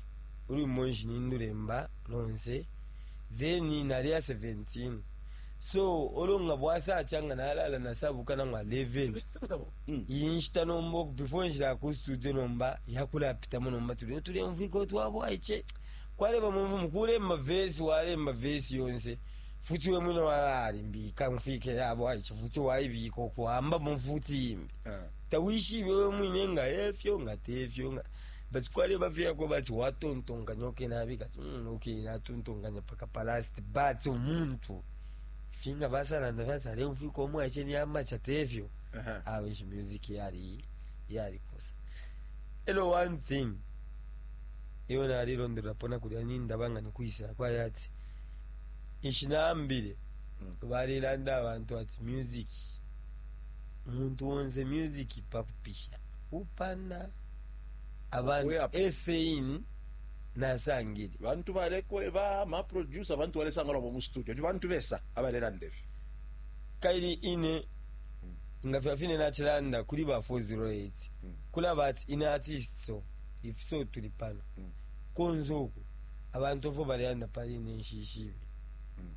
uli monshi nindulemba lonse then nalya seventeen so olwo nga bwasacha nga nalala nasabuka nangwa eleven. Mm. Iyi nshita nomba before nshila ku studio nomba yakulapitamo nomba tulio tulemvwika otwabwaiche kwaleba mumvu mukulemba vesi walemba vesi yonse futi we mwine walalimbika mfike yabwaiche futi waibika okuhamba mufuti imbi. Eh. Tawishibe we mwine nga efyo nga tefyo nga but kwaleba fyako bati watontonkanya okenabika ati mm, okay natontonkanya paka palast but omuntu finga basalanda vyati alemfwika omwaiche niyamacha tefyo. Aha. Awe music yali yalikosa elo one thing iyo nalilonderera pona kulya nindaba nga nikwisa kwaya ati ishinambile. Mm. Balilanda abantu ati music umuntu wonse music pakupisha upana abantu. Way up. Esein nasangile. Bantu balekwe ba ma producer bantu balesanga lwabo mu studio ni bantu besa abalera ndevyo. Kaili ine nga fyafine nachilanda kuli ba four zero eight. Mm. Kulaba ati ine artist so if so tuli pano. Mm. Konze uku abantu ofo baleyanda pali ine nshishibe. Mm.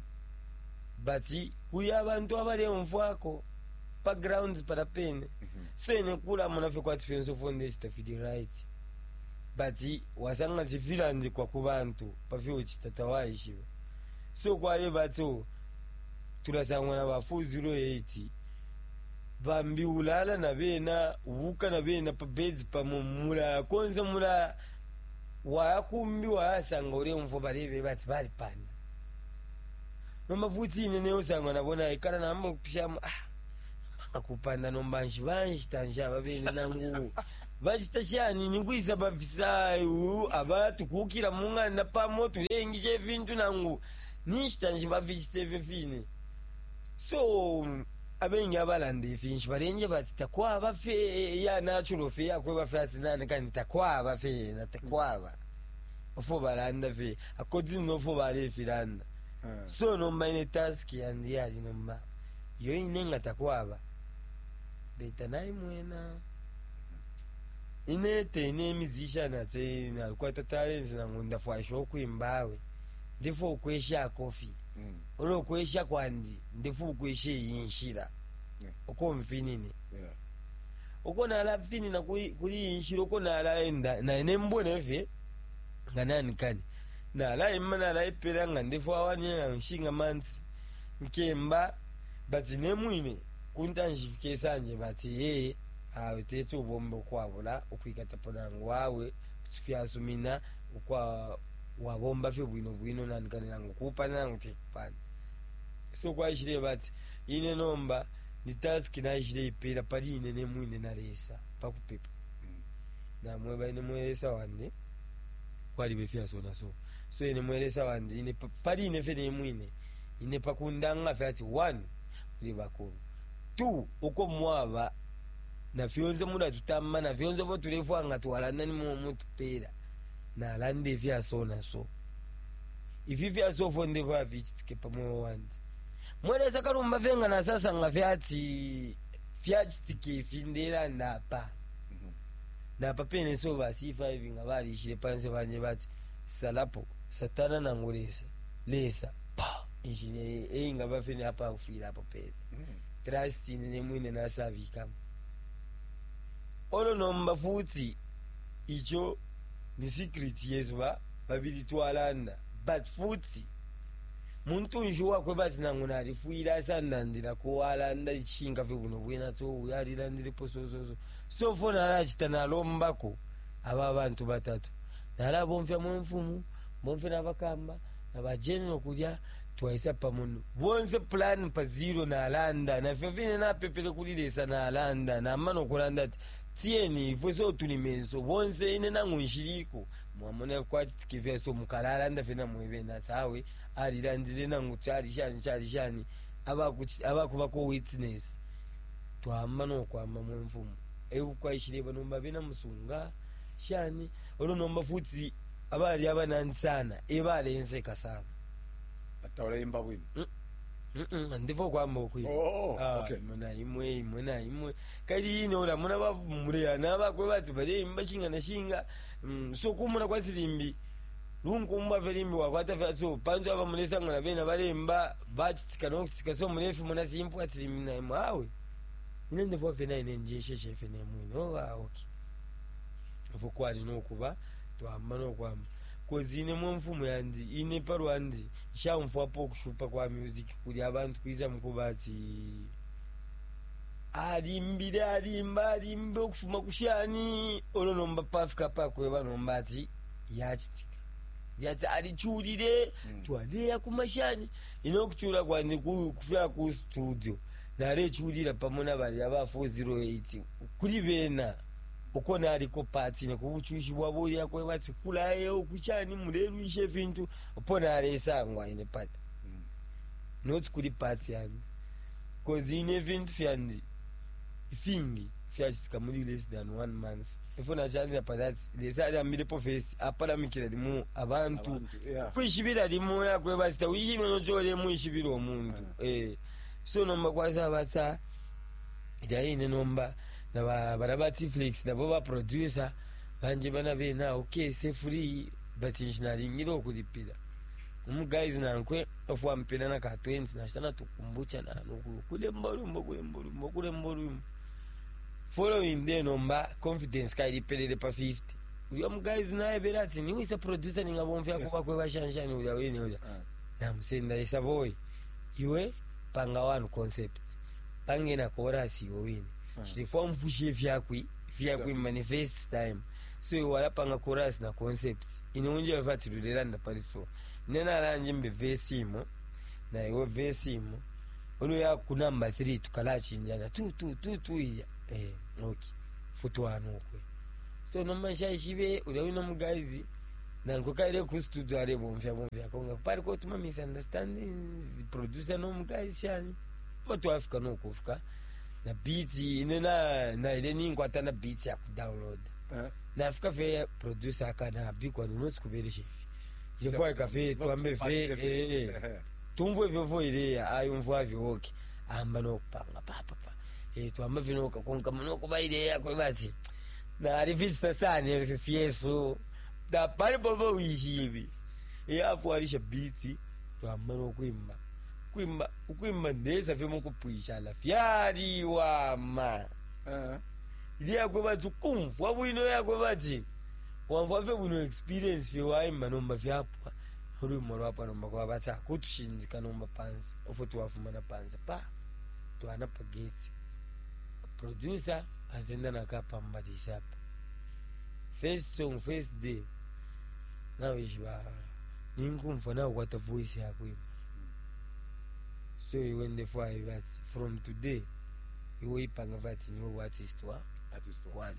But kuli abantu abalemfwako pa grounds pala pene. So ine kulamona fye kwati fyonse ofo ndechita fili right but wasanga zifilandikwa ku bantu pafyochita tawaishiba so kwale bati o tulasangwa na ba four zero eight bambi ulala na bena ubuka na bena pa beds pamo mulala konse mulala. Wayakumbi wayasanga ulemvo balebe bati balipanda. Nomba futi ine neusanga nabona ikala namba kupishamo ah akupanda nomba nshi banshita nshi ababene nangu bachita shani nikwisa bafisa abatukukila mung'anda pamo tulengisha efintu nangu ninshita nshi bafichita efyo fine. So abengi abalanda ifinshi balenje bati takwaba fe ya natural fe yakweba fe ati nani kani takwaba fe na takwaba ofo balanda fe akodzi nofo balefilanda. Uh. So nomba ine task yandi yali nomba yo ine nga takwaba beta naimwena ine tene musician ate nalikwata talents nangu ndafwaisha okwimbawe ndifo okwesha kofi. Mm. Olo okwesha kwandi ndifo okwesha eyinshira. Yeah. Okomfinine. Yeah. Uko nalafinina kuli kuli inshira uko nalaenda naine mbone fe nga nanikani nalaima nalaipela nga ndifo awani nshinga manzi nkemba bati nemwine kuntanshifika esanje bati ye awe tete ubombe okwabula okwikatapo nangu wawe fyasumina okwa wabomba fye bwino bwino nanikani nangu kupana nangu tekupana. So kwaishile bati ine nomba ni task naishile ipela pali ine nemwine nalesa pakupepa. Mm. Namweba ine mwelesa wandi kwalibe fyasona so so ine mwelesa wandi ine pa- pali ine fye nemwine ine pakundanga fye ati one muli bakulu two uko mwaba na fyonse mulatutamba na fyonse fo tulefwa nga twalanda nimwe mutupela nalanda ifyasona so ifi fyasofo ndifo afichitike pamwe wandi mwelesa kalumba fye nga nasasanga fyati fyachitike ifi ndelanda apa. Mhm. Napa pene so ba C five nga balishile panse banje bati salapo satana nangu lesa lesa pa injine einga bafene apa kufira apo pene. Mm. Trust ine mwine nasabikamo olo nomba futi icho ni secret yesu ba babili twalanda but futi muntu nshi wakwe bati nangu nalifwile asandandila kuwalanda lichinga fye buno bwina so uyo alilandilepo so so so so fo nalachita nalombako aba bantu batatu nalabomfya mwenfumu bomfye nabakamba nabajenero kulya twaisa pamuno bonse plan pa zero nalanda nafyo fine napepele kuli lesa nalanda namana okulanda ati tiyeni ifwe so tuli menso bonse ine nangu nshiliko mwamona kwachitika fyaso mukalalanda fye namwebene ati awe alilandile nangu chali shani chali shani abakuchi- abakubako witness twamba nokwamba mwenfumu ekwaishile banomba bena musunga shani olwo nomba futi abali abanani sana ebalenseka sana. Atawulaimba bwino. Mm-mm, ndifo kwamba okwimba. Oh, Ah, okay. muna imwe imwe na imwe kali ine ola muna bamuleya nabakwe bati baleimba shinga na shinga. Mm, so kumuna kwasilimbi lunkumba felimbi wakwata fya so pantu aba mulesanga na bena balemba bachitika nokuchitika so mulefi muna simpu atilimbi na imwe awe ine ndifo fye naine njesheshe fye nemwine oba okay ifo kwali nokuba twamba nokwamba kozi ine mwenfumu yandi ine palwandi nshamfwapo okushupa kwa music kuli abantu kwiza mukuba ati alimbile alimba alimba okufuma kushani olwo nomba pafika pakweba nomba ati yachitika yati alichulile. Mm. Twaleya kumashani ine okuchula kwandi ku- kufika ku studio nalechulila pamo nabali aba four zero eight kuli bena uko naliko pati nekubuchushi bwabo yakweba ati kulaye okuchani mulelwisha efintu opo nalesangwa ine pati. Mm. Not kuli pati yandi kozi ine ebintu fyandi fingi fyachitika muri less than one month ifo nachanzira patati lesa aliambilepo first apalamikira limu abantu. Abantu, yeah. Kwishibira limu yakweba sita wishibire nochole mwishibira omuntu. Eh so nomba kwasaba lyaine nomba naba bana ba Tflix nabo ba producer banje bana bena okay se free but nshinalingire okulipira umuguys nankwe ofuampela na ka twenty nashitana tukumbucha nanu kulemba olwimbo kulemba olwimbo kulemba olwimbo following day nomba confidence kailipelele pa fifty ulya muguys naye bela ati niwisa producer ningabomfya. Yes. Kuba kwe bashanshani ulya wene ulya. Ah. Namusenda isa boy iwe panga one concept pange na chorus iwe wine. Mm. Chilifwa mfushe fyakwi fyakwi manifest time So iwe walapanga chorus na concept ine unje vati lulelanda pali so ine nalanje mbe verse imo na iwe verse imo olo ya ku number three tukalachinjana two two two two iya eh okay futwano okwe. So nomba nshaishibe ulya wino muguys nanko kaile ku studio ale bomfya bomfya konga pali ko tuma misunderstandings producer no muguys shani batwafika no kufika na beat ine na na ile ninkwata na beat ya ku download. Eh. Nafika fe producer akana bikwa no not kuberesha ifi ile fwa kafe twambe fe eh eh tumvwe vyovo ile ayumvwa vyo okay amba no kupanga pa pa pa eh twamba vino kakonka muno kuba ile yakwe bati na alivista sana ife fyeso da pali bobo wishibi e afu alisha beat twamba no kwimba kwimba ukwimba ndesa fye mukupwisha la fyali wama Eh. ili yakwe bati kumvwa bwino yakwe bati wamvwa fye bwino experience fye waimba nomba fyapwa olwimbo lwapwa nomba kwabati akutushindika nomba pansi ofo twafumana pansi pa twana pa gate producer azenda nakapambalisa apa first song first day nawishiba ninkumva nakukwata voice yakwimba. So iwe ndefwayo bati from today iwe ipanga vati niwe artist wa Artist wa. want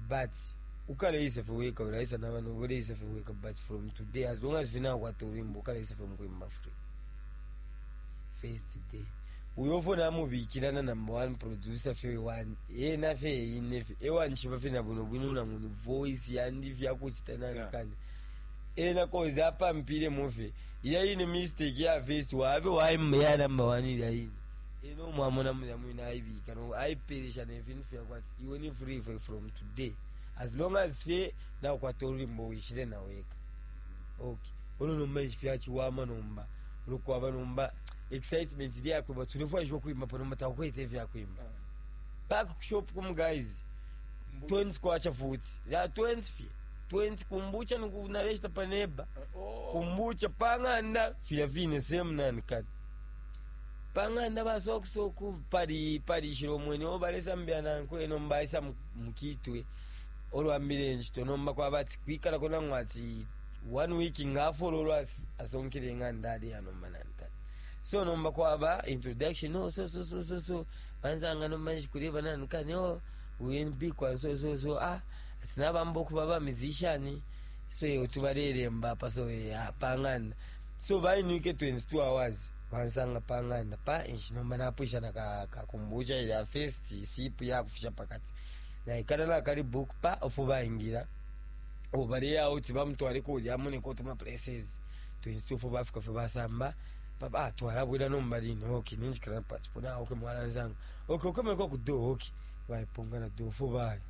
but ukaleisa feweka ulaisa navanu uleisa feweka but from today as long as vinakwata ulimbo ukaleisa femukuimba free first day uyofona amubikirana number one producer fe one yena fe ine fe ewanishiva fe nabuno bwino nanguni voice yandi vyakuchita Yeah. nankani ena koze apampile mufe ila ine mistake ya first wave waimba ya number one ila ine eno mwamona muya mwina aibika no aiperesha nevinhu fyakwati iwe ni free fe from today as long as fe nakwata olulimi wishire naweka okay uno nomba ifyachiwama nomba lukwaba nomba excitement ili yakwimba tulifwaishwa kwimba pa nomba takukwete vyakwimba back shop kumuguys twenty kwacha futi ya twenty fye twenty kumbucha nikunaleshita paneba Oh. kumbucha pang'anda fya fine same nani kati pang'anda basokusoku pali palishilo mwene obalesambya nanko eno mbaisa mukitwe olwambile enchito nomba kwabati kwikalako nang'we ati one week ngafolo olwa asonkele eng'anda ali anomba nani kati so nomba kwaba introduction no so so so so so banzanga nomba njikuleba nani kani o uyenbikwa so so so ah ati nabamba okuba ba musician so ye tubalele mbapa so ye ah, pang'anda so bainwike twenty-two hours bansanga pang'anda pa inshi nomba napwisha na kakumbucha ila first sip yakufisha pakati naikala nakali book pa ofu baingira obale out bamutwale kulya muneko tuma places twenty-two fo bafika fe basamba papa atwala bwira nomba lino okay ninjikala pachipona okay mwalanzanga okay okomeko ku do okay baipunga na do fo baya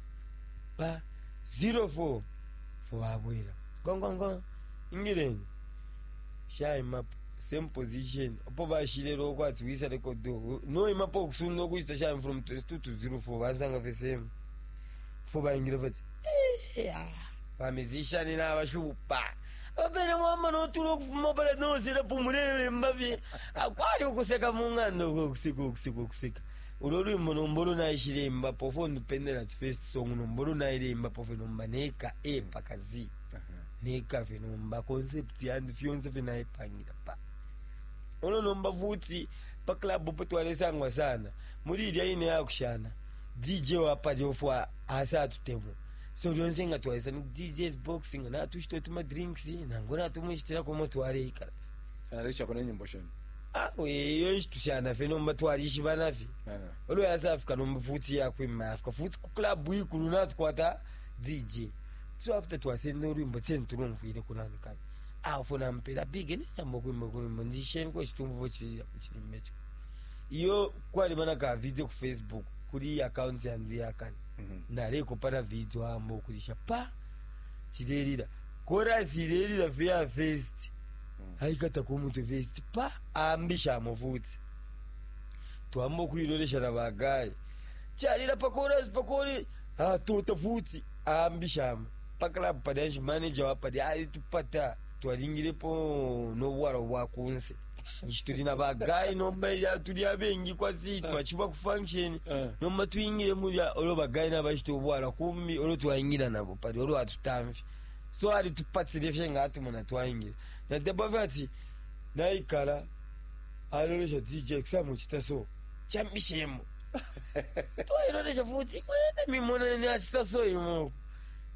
pa zero four fo babwira gonggongo ingireni shaima same position opo bashile lokwatsi wisa rekodo no imapo okusunda okuchita shaima from twenty-two to zero four bansanga fe same fo baingira fati bamizishani n'abashupa abapene mwama notula okufuma pala nosera pumulele mbavye akwali okuseka mung'anda okwo okuseka okuseka okuseka olwo olwimbo nomba olunaishilemba pofo ndipendera first song nomba olunailemba pofe nomba neka A paka Z neka fe nomba concept yandi fyonse fe naipangira pa ono nomba futi pa club po twalesangwa sana muri ilya ine yakushana D J wapali ofwa asa atutemwa so lyonse nga twalesa ni D J's boxing natushita tuma drinks nango natumushitira komo twaleikala Analisha kone nyimbo sheni. ah we yo nshitushana fe nomba twalishibana fe Eh. olwo yasafika nomba futi yakwima afika futi ku club ikulu natukwata D J so after twasenda olwimbo tseni tulumfwile kunani kani awo nampera big neyamba okwimba kulwimbo ndisheni kwechitumvu chilimbe chiko iyo kwalima ka video ku Facebook kuri account yandi yakani Mhm. naleko pana video amba okulisha pa chilelira kora chilelira feya first aikata kumutu first pa ambisha amufuti twamba okuilolesha na bagaye chalira pakorasi pakori atota futi ambishama pa club padashi manager wapadi alitupata twalingilepo nobwalo bwakunse Nshi tuli na bagayi nomba ilya tuli abengi kwasi twachiba ku function. Eh. Nomba twingile mulya olwo bagayi nabashita obwala kumbi olwo twaingira nabo pali olwo atutamfya. So alitupatile fye nga atumona twaingira. Nadeba fye ati naikala alolesha D J kusamuchita so chambishemo. Twailolesha futi mwene mimona ni achita so imo.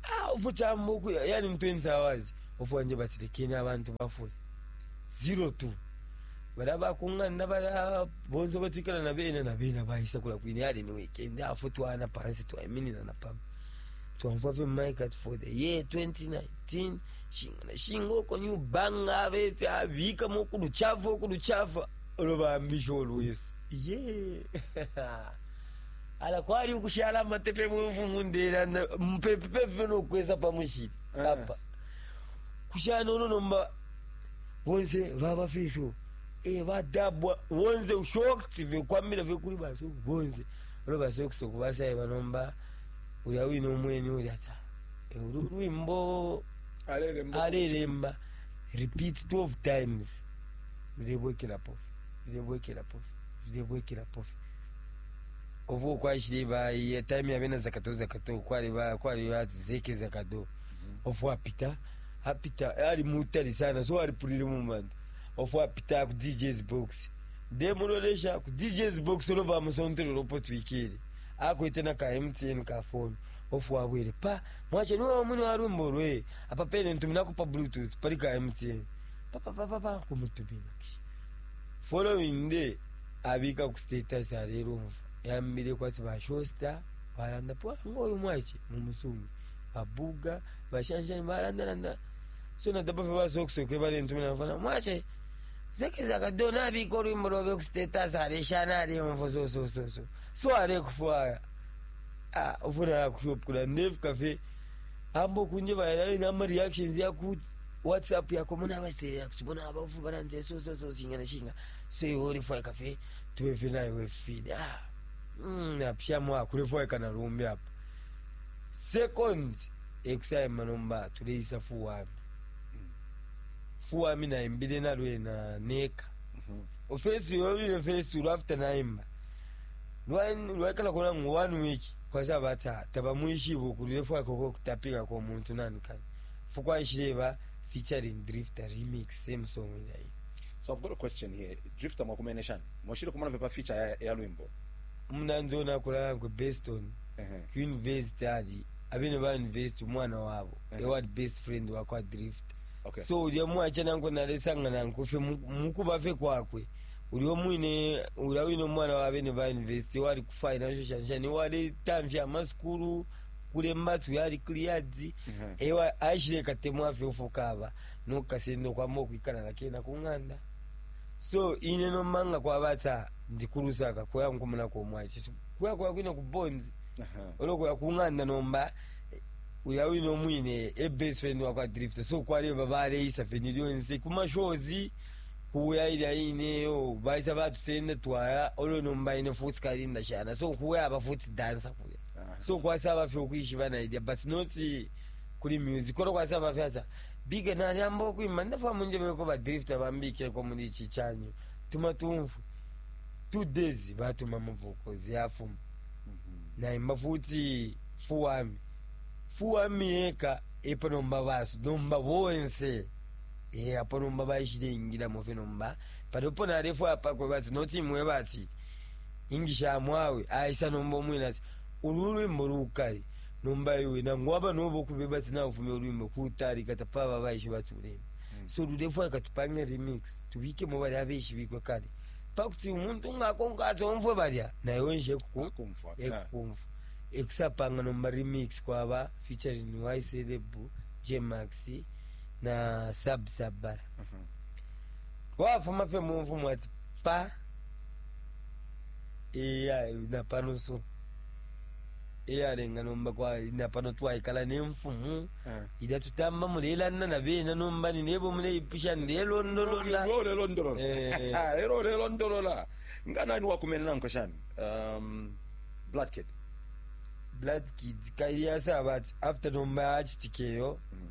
Ah, ufuti ambuku yani twenty hours. Ofu wanje batilekeni abantu bafule. Zero two. Bala bakungana bala bonzo batwikala na bena na bena bahisa kula kwini yali ni weekend afu twana pansi twaiminina na pam. Twamva ve mic at for the year twenty nineteen shinga na shinga uko new banga bese abika mu kuluchafu kuluchafu olobambisha olwesu. Yeah. Ala kwali ukushala amatepe mumfumu ndera mpepepe nokwesa pamushiri Eh. apa kushana uno nomba bonse vava fisho eh vadabwa bonse ushocked vekwamira vekuli basi bonse olo basokusoku basaye banomba uya wino omweni uli ata eh, ulu lwimbo Alelemba. Alelemba repeat twelve times, vilebwekela pofi, vilebwekela pofi, vilebwekela pofi. Ovu kwaishile ba ya time ya bena zakato zakato kwali ba kwali ba zeke zakato. Ofu apita apita ali mutali sana, so alipulile mu bantu. Ofu apita ku D J's box, ndemulolesha ku D J's box olo bamusontere lopo twikile akwete na ka M T N ka phone. Ofu wabwere pa mwache niwe mwini wa rumbo lwe apa pene ntumina pa Bluetooth pali ka M T N pa pa pa pa pa kumutumina. Following day abika ku status alero mva yambire kwati bashosta balanda po ngoyu mwache mumusungu babuga bashanshani balandalanda. So nadaba fe basokusoke bale ntumina fana mwache zeke zakadona abika olwimbo lwobe ku status aleshana alemvo so so so so so alekufwaya. Ah, ufuna kushop ndefika fe ambo kunje bayala nama reactions ya ku WhatsApp yako muna basite yakusibona abafu baranze so so so singa na shinga so yori fwa kafe tuwe fe nayo we fini. Ah, mm apsha kule fwa kana rumbi apa second ekusaye manomba tuleisa fuwami fuwami na imbile na lwe na neka ofesi yolile fesi after naimba lwaikala kola ngu one week kwasa bata tabamwishibo kulile fwa koko kutapika kwa muntu nani kani fukwaishileba featuring Drifter remix same song ile. So I've got a question here. Drifter mwakumene shani mwashile kumona vepa feature ya, ya lwimbo? Munanzona kulala ku Beston Ehe. ku university ali abene ba university umwana wabo Ehe. ewali best friend wakwa Drifter. Okay. So ulya mwacha nanko nalesanga nanko fe mukuba fe kwakwe ulio mwine ulya wine omwana wa bene ba university wali ku financial shanshani wali tamfya amasukulu kulemba tu yali cleared. Mhm. Ewa aishile katemu afe ufukaba nokasendo kwamba okwikala nakena kung'anda. So ine nomanga kwabata ndikulusaka kuya nkumuna komwache kuya kuya kwine kubonzi. Aha. Olokuya kung'anda nomba uya wine omwine e best friend wakwa Drifter, so kwaleba baleisa feni lyonse kumashozi kuya ilya ineyo baisa batusenda twaya olo nomba ine futi kalinda shana so kuya aba futi dansa kuya. Aha. So kwasaba fye okwishiba na idea but not kuli music olo kwasaba fye asa biga nali okwimba ndafa munjebeko ba Drifter bambikireko muri iki cyanyu tuma tumfu two days batuma mavokozi yafuma. Naimba futi fuwami fuwami yeka epo nomba baso nomba bonse e apo nomba baishile ingilamo fe nomba panopo nalefu apakwe bati noti imwe bati ingisha mwawe aisa nomba omwine ati ulu lwimbo lukali nomba iwe nangu aba nobo kube bati naufumya olwimbo kutalika tapaba baishe bati ulemba. So lulefu akatupange remix tubikemo bali abeshibikwe kale pakuti umuntu ngakonka omfwe balya naye nje kuku Akumfa. Ekukumva ekusapanga nomba remix kwaba featuring Ycelebu, Jmax na Sab Sabara. Mhm. Wafuma fe mumfumu ati pa iya napano so iyalenga nomba kwa napano twaikala nemfumu. Eh. Ila tutamba mulelana na bena nomba ninebo muleipusha nilelondolola. Lero lelondolola. Eh. Lero lelondolola. Nga nani wakumene nanko shani? Um, Blood Kid. Blood Kids kaili yasaba ati after nomba achitikeyo. Mm.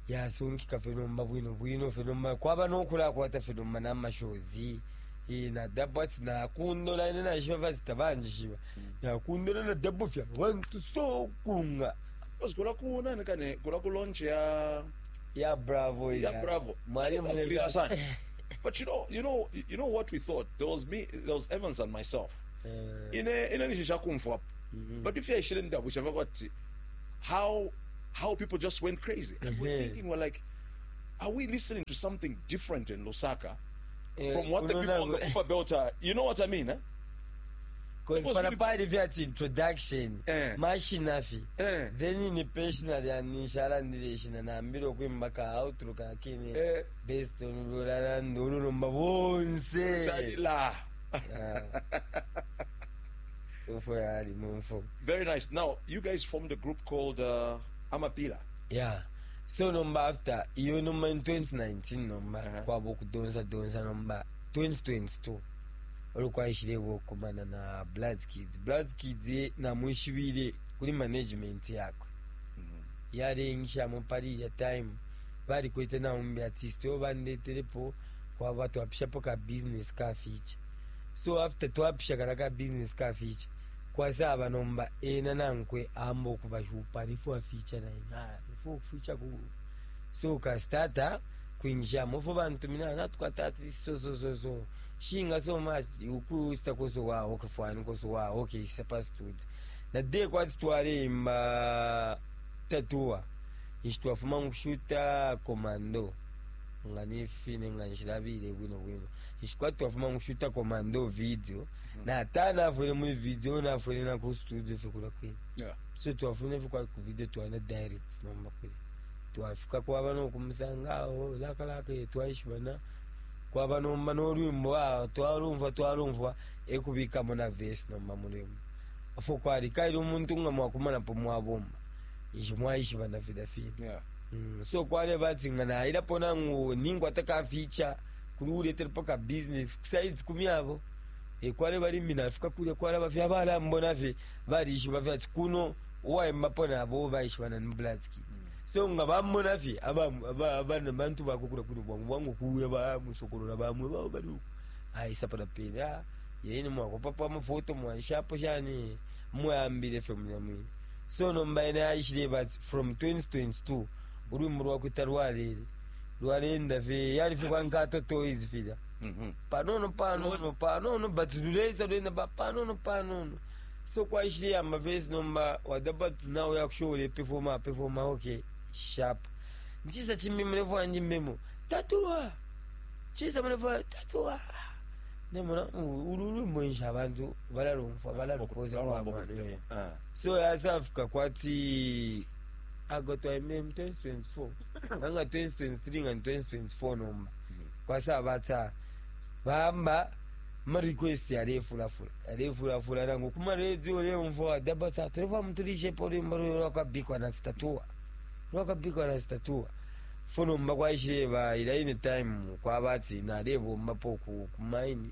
Yasunkika fe nomba bwino bwino fe nomba kwaba nokulakwata fe nomba n'amashozi. Eh, na dabo ati nakundola ine naishiba vazita banjishiba nakundola na dabo fya bantu sokunga. Because kula ku nani kane kula ku launch ya Ya Bravo. Ya Bravo. Mwalimu. Kulira sana. But you know, you know, you know what we thought? There was me, there was Evans and myself. Eh, Ine ine nishisha kumfwa. But if you shouldn't double what how how people just went crazy. And we're Mhm. thinking, we're like, are we listening to something different in Lusaka Eh, from what the people on the unaona- Upper Belt are? You know what I mean, eh? 'Cause It was pana really- pali vyati introduction Eh. mashinafi. Eh. Then ni personal yanishalandile ishina nambile okwimba ka outro kakene Eh. based on lulalanda olulomba bonse. Chalila. Ah. Ufo yali mumfo. Very nice. Now, you guys formed a group called uh, Amapila. Yeah, so nomba after iyo nomba in twenty nineteen nomba Uh-huh. kwaba okudonsa donsa nomba twenty twenty-two olwo okumana na Blood Kids. Blood Kids ye namwishibile kuli management yakwe yalengishamo pali ya time balikwete naumbi artist oyo bandetelepo kwaba twapishapo ka business ka feature. So after twapisha kala ka business ka feature kwasaba nomba ena nankwe amba okubashupa nifo feature naye nifo feature ku so ka starter kwingishamo fo bantumina natukwata ati so so so so shinga so much ukusita koso wa okay fine koso wa okay isa studio na de kwati twalemba tatua ishi twafuma mukushuta Commando nga nifine nga nshilabile bwino bwino ishi kwati twafuma mukushuta Commando video na ata nafwele muri video nafwele na ku studio fe kula kwini. Yeah. So twafune fe kwa ku video twana direct nomba kule twafika kwaba nokumusanga awo lakalaka twaishibana kwaba nomba n'olwimbo awo twalumva twalumva ekubikamo na verse nomba mulwimbo afo kwali kaili omuntu nga mwakumanapo mwabomba ishi mwaishibana fida fida. Yeah. Mm, so kwale bati nga nailapo nangu ninkwata ka feature kuli uletelepo ka business kusides kumi abo e kwale balimi nafika kulya kwala bafya balambona fe balishiba fye ati kuno uwaimbapo nabo baishibana ni Blood Kid. So nga bamona fye abana bantu bakukula kuno bwangu bwangu kuya bamusokolola bamwe bao bali uku aisa pala pene ah yene mwakopapo amafoto mwaishapo shani mwayambile fye munyamwini. So nomba ene aishile but from twenty twenty-two ulwimbo lwakwita lwalele lwalenda fe yali fe kwankato toys filya Mm-hmm. panono panono panono but luleza lwenda ba panono panono. So kwaishile amavesi nomba wadabati nawe yakushola performa performa okay sharp nchisa chimbi mulefu wanje mbemo tatuwa chisa mulefu tatuwa nemona ulu lwimbo nsha abantu balalumfa balalukoza kwamano. Ah. So yasafika kwati agotwa mm twenty twenty-four anga twenty twenty-three nga twenty twenty-four nomba kwasaba bamba ma request yalefulafula yalefulafula nangu kuma radio lemfo dabata tulefa mutulishepo lwimbo lwakabikwa na statua lwakabikwa na statua fo nomba kwaishile ila ine time kwabati nalebombapo ku kumaini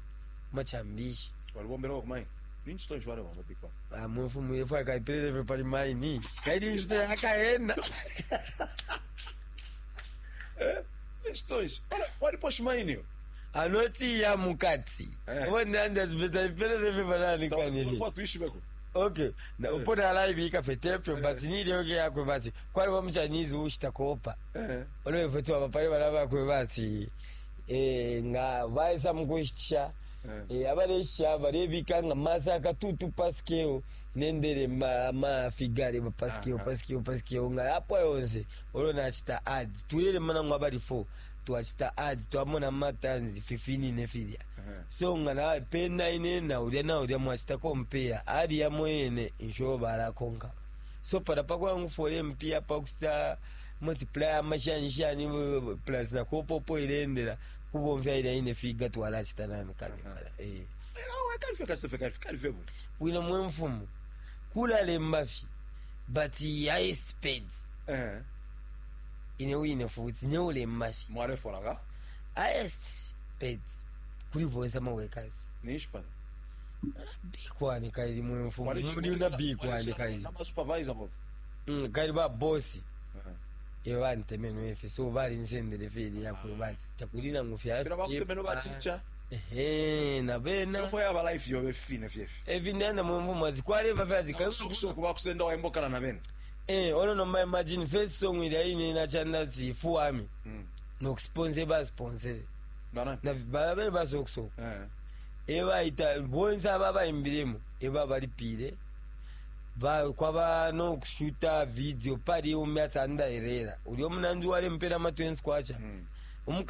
kumachambishi. Walibombera ku mine. Ninchi tonshi wale wamabikwa. Mwefu mwefu akaipelele pali maini kaili nshito yakaenda. Ninchi tonshi. Walipo shimaini yo. Anoti ya mukati. Eh. Wondandaipelele panani kanili. Tulikuwa tuishi beko. Okay na upona live ikafetepyo but nile oke yakwe bati kwali wa muchinese ushita kopa. Eh. Olwefetu abapale bala bakwe bati eh, nga baisa mukushitisha. Eh. eh, abalesha balebika nga masaka tutu paskeo nendele ma, ma figare ba paskeo. Aha. Paskeo paskeo nga apo yonse olwo nachita ads tulele mana ngwa bali four twachita ads twamona matanzi fifini ne filya. Eh. So nga nawe pena ine naulya naulya mwachita compare ali yamwene insho balakonka so para pakwangu mpia pakusita multiply amashanishani plus nakopopo ilendela kubomfya ila ine figa twalachita nani kale kale eh. Eh, kalife kalife kalife kalife bu. Bwino mwe mfumu kulalemba fye but highest paid. Eh. Ine wine futi neulemba fye. Mwale foraga. Highest paid kuli bonse amawekazi. Ninchi pana. Bikwani kaili mwe mfumu muli una bikwani kaili. Nama supervisor bo. Mm, kaili ba bosi. Eh. Ebantemenwe ifi, so balinsendele fye yakweba takuli nangu fya. Fila bakutemenwe ba teacher. Ehe, na bena. So fo yaba life yobe fine fyefi. Evi ndenda mumvumo zikwaleva fya zika. Sukusuku bakusenda waimbokana na bene. Eh, ono nomba imagine first song ilya ine nachanda zifuwami. Mm. Nokusponsor, basponsor. Bana. Na bala bene basokusoko. Eh. Ebaita bonse aba bayimbiremo, eba balipire ba kwaba nokushuta video pali umyatsa andairera uli omunanzi walempera ma twenty kwacha. Mm.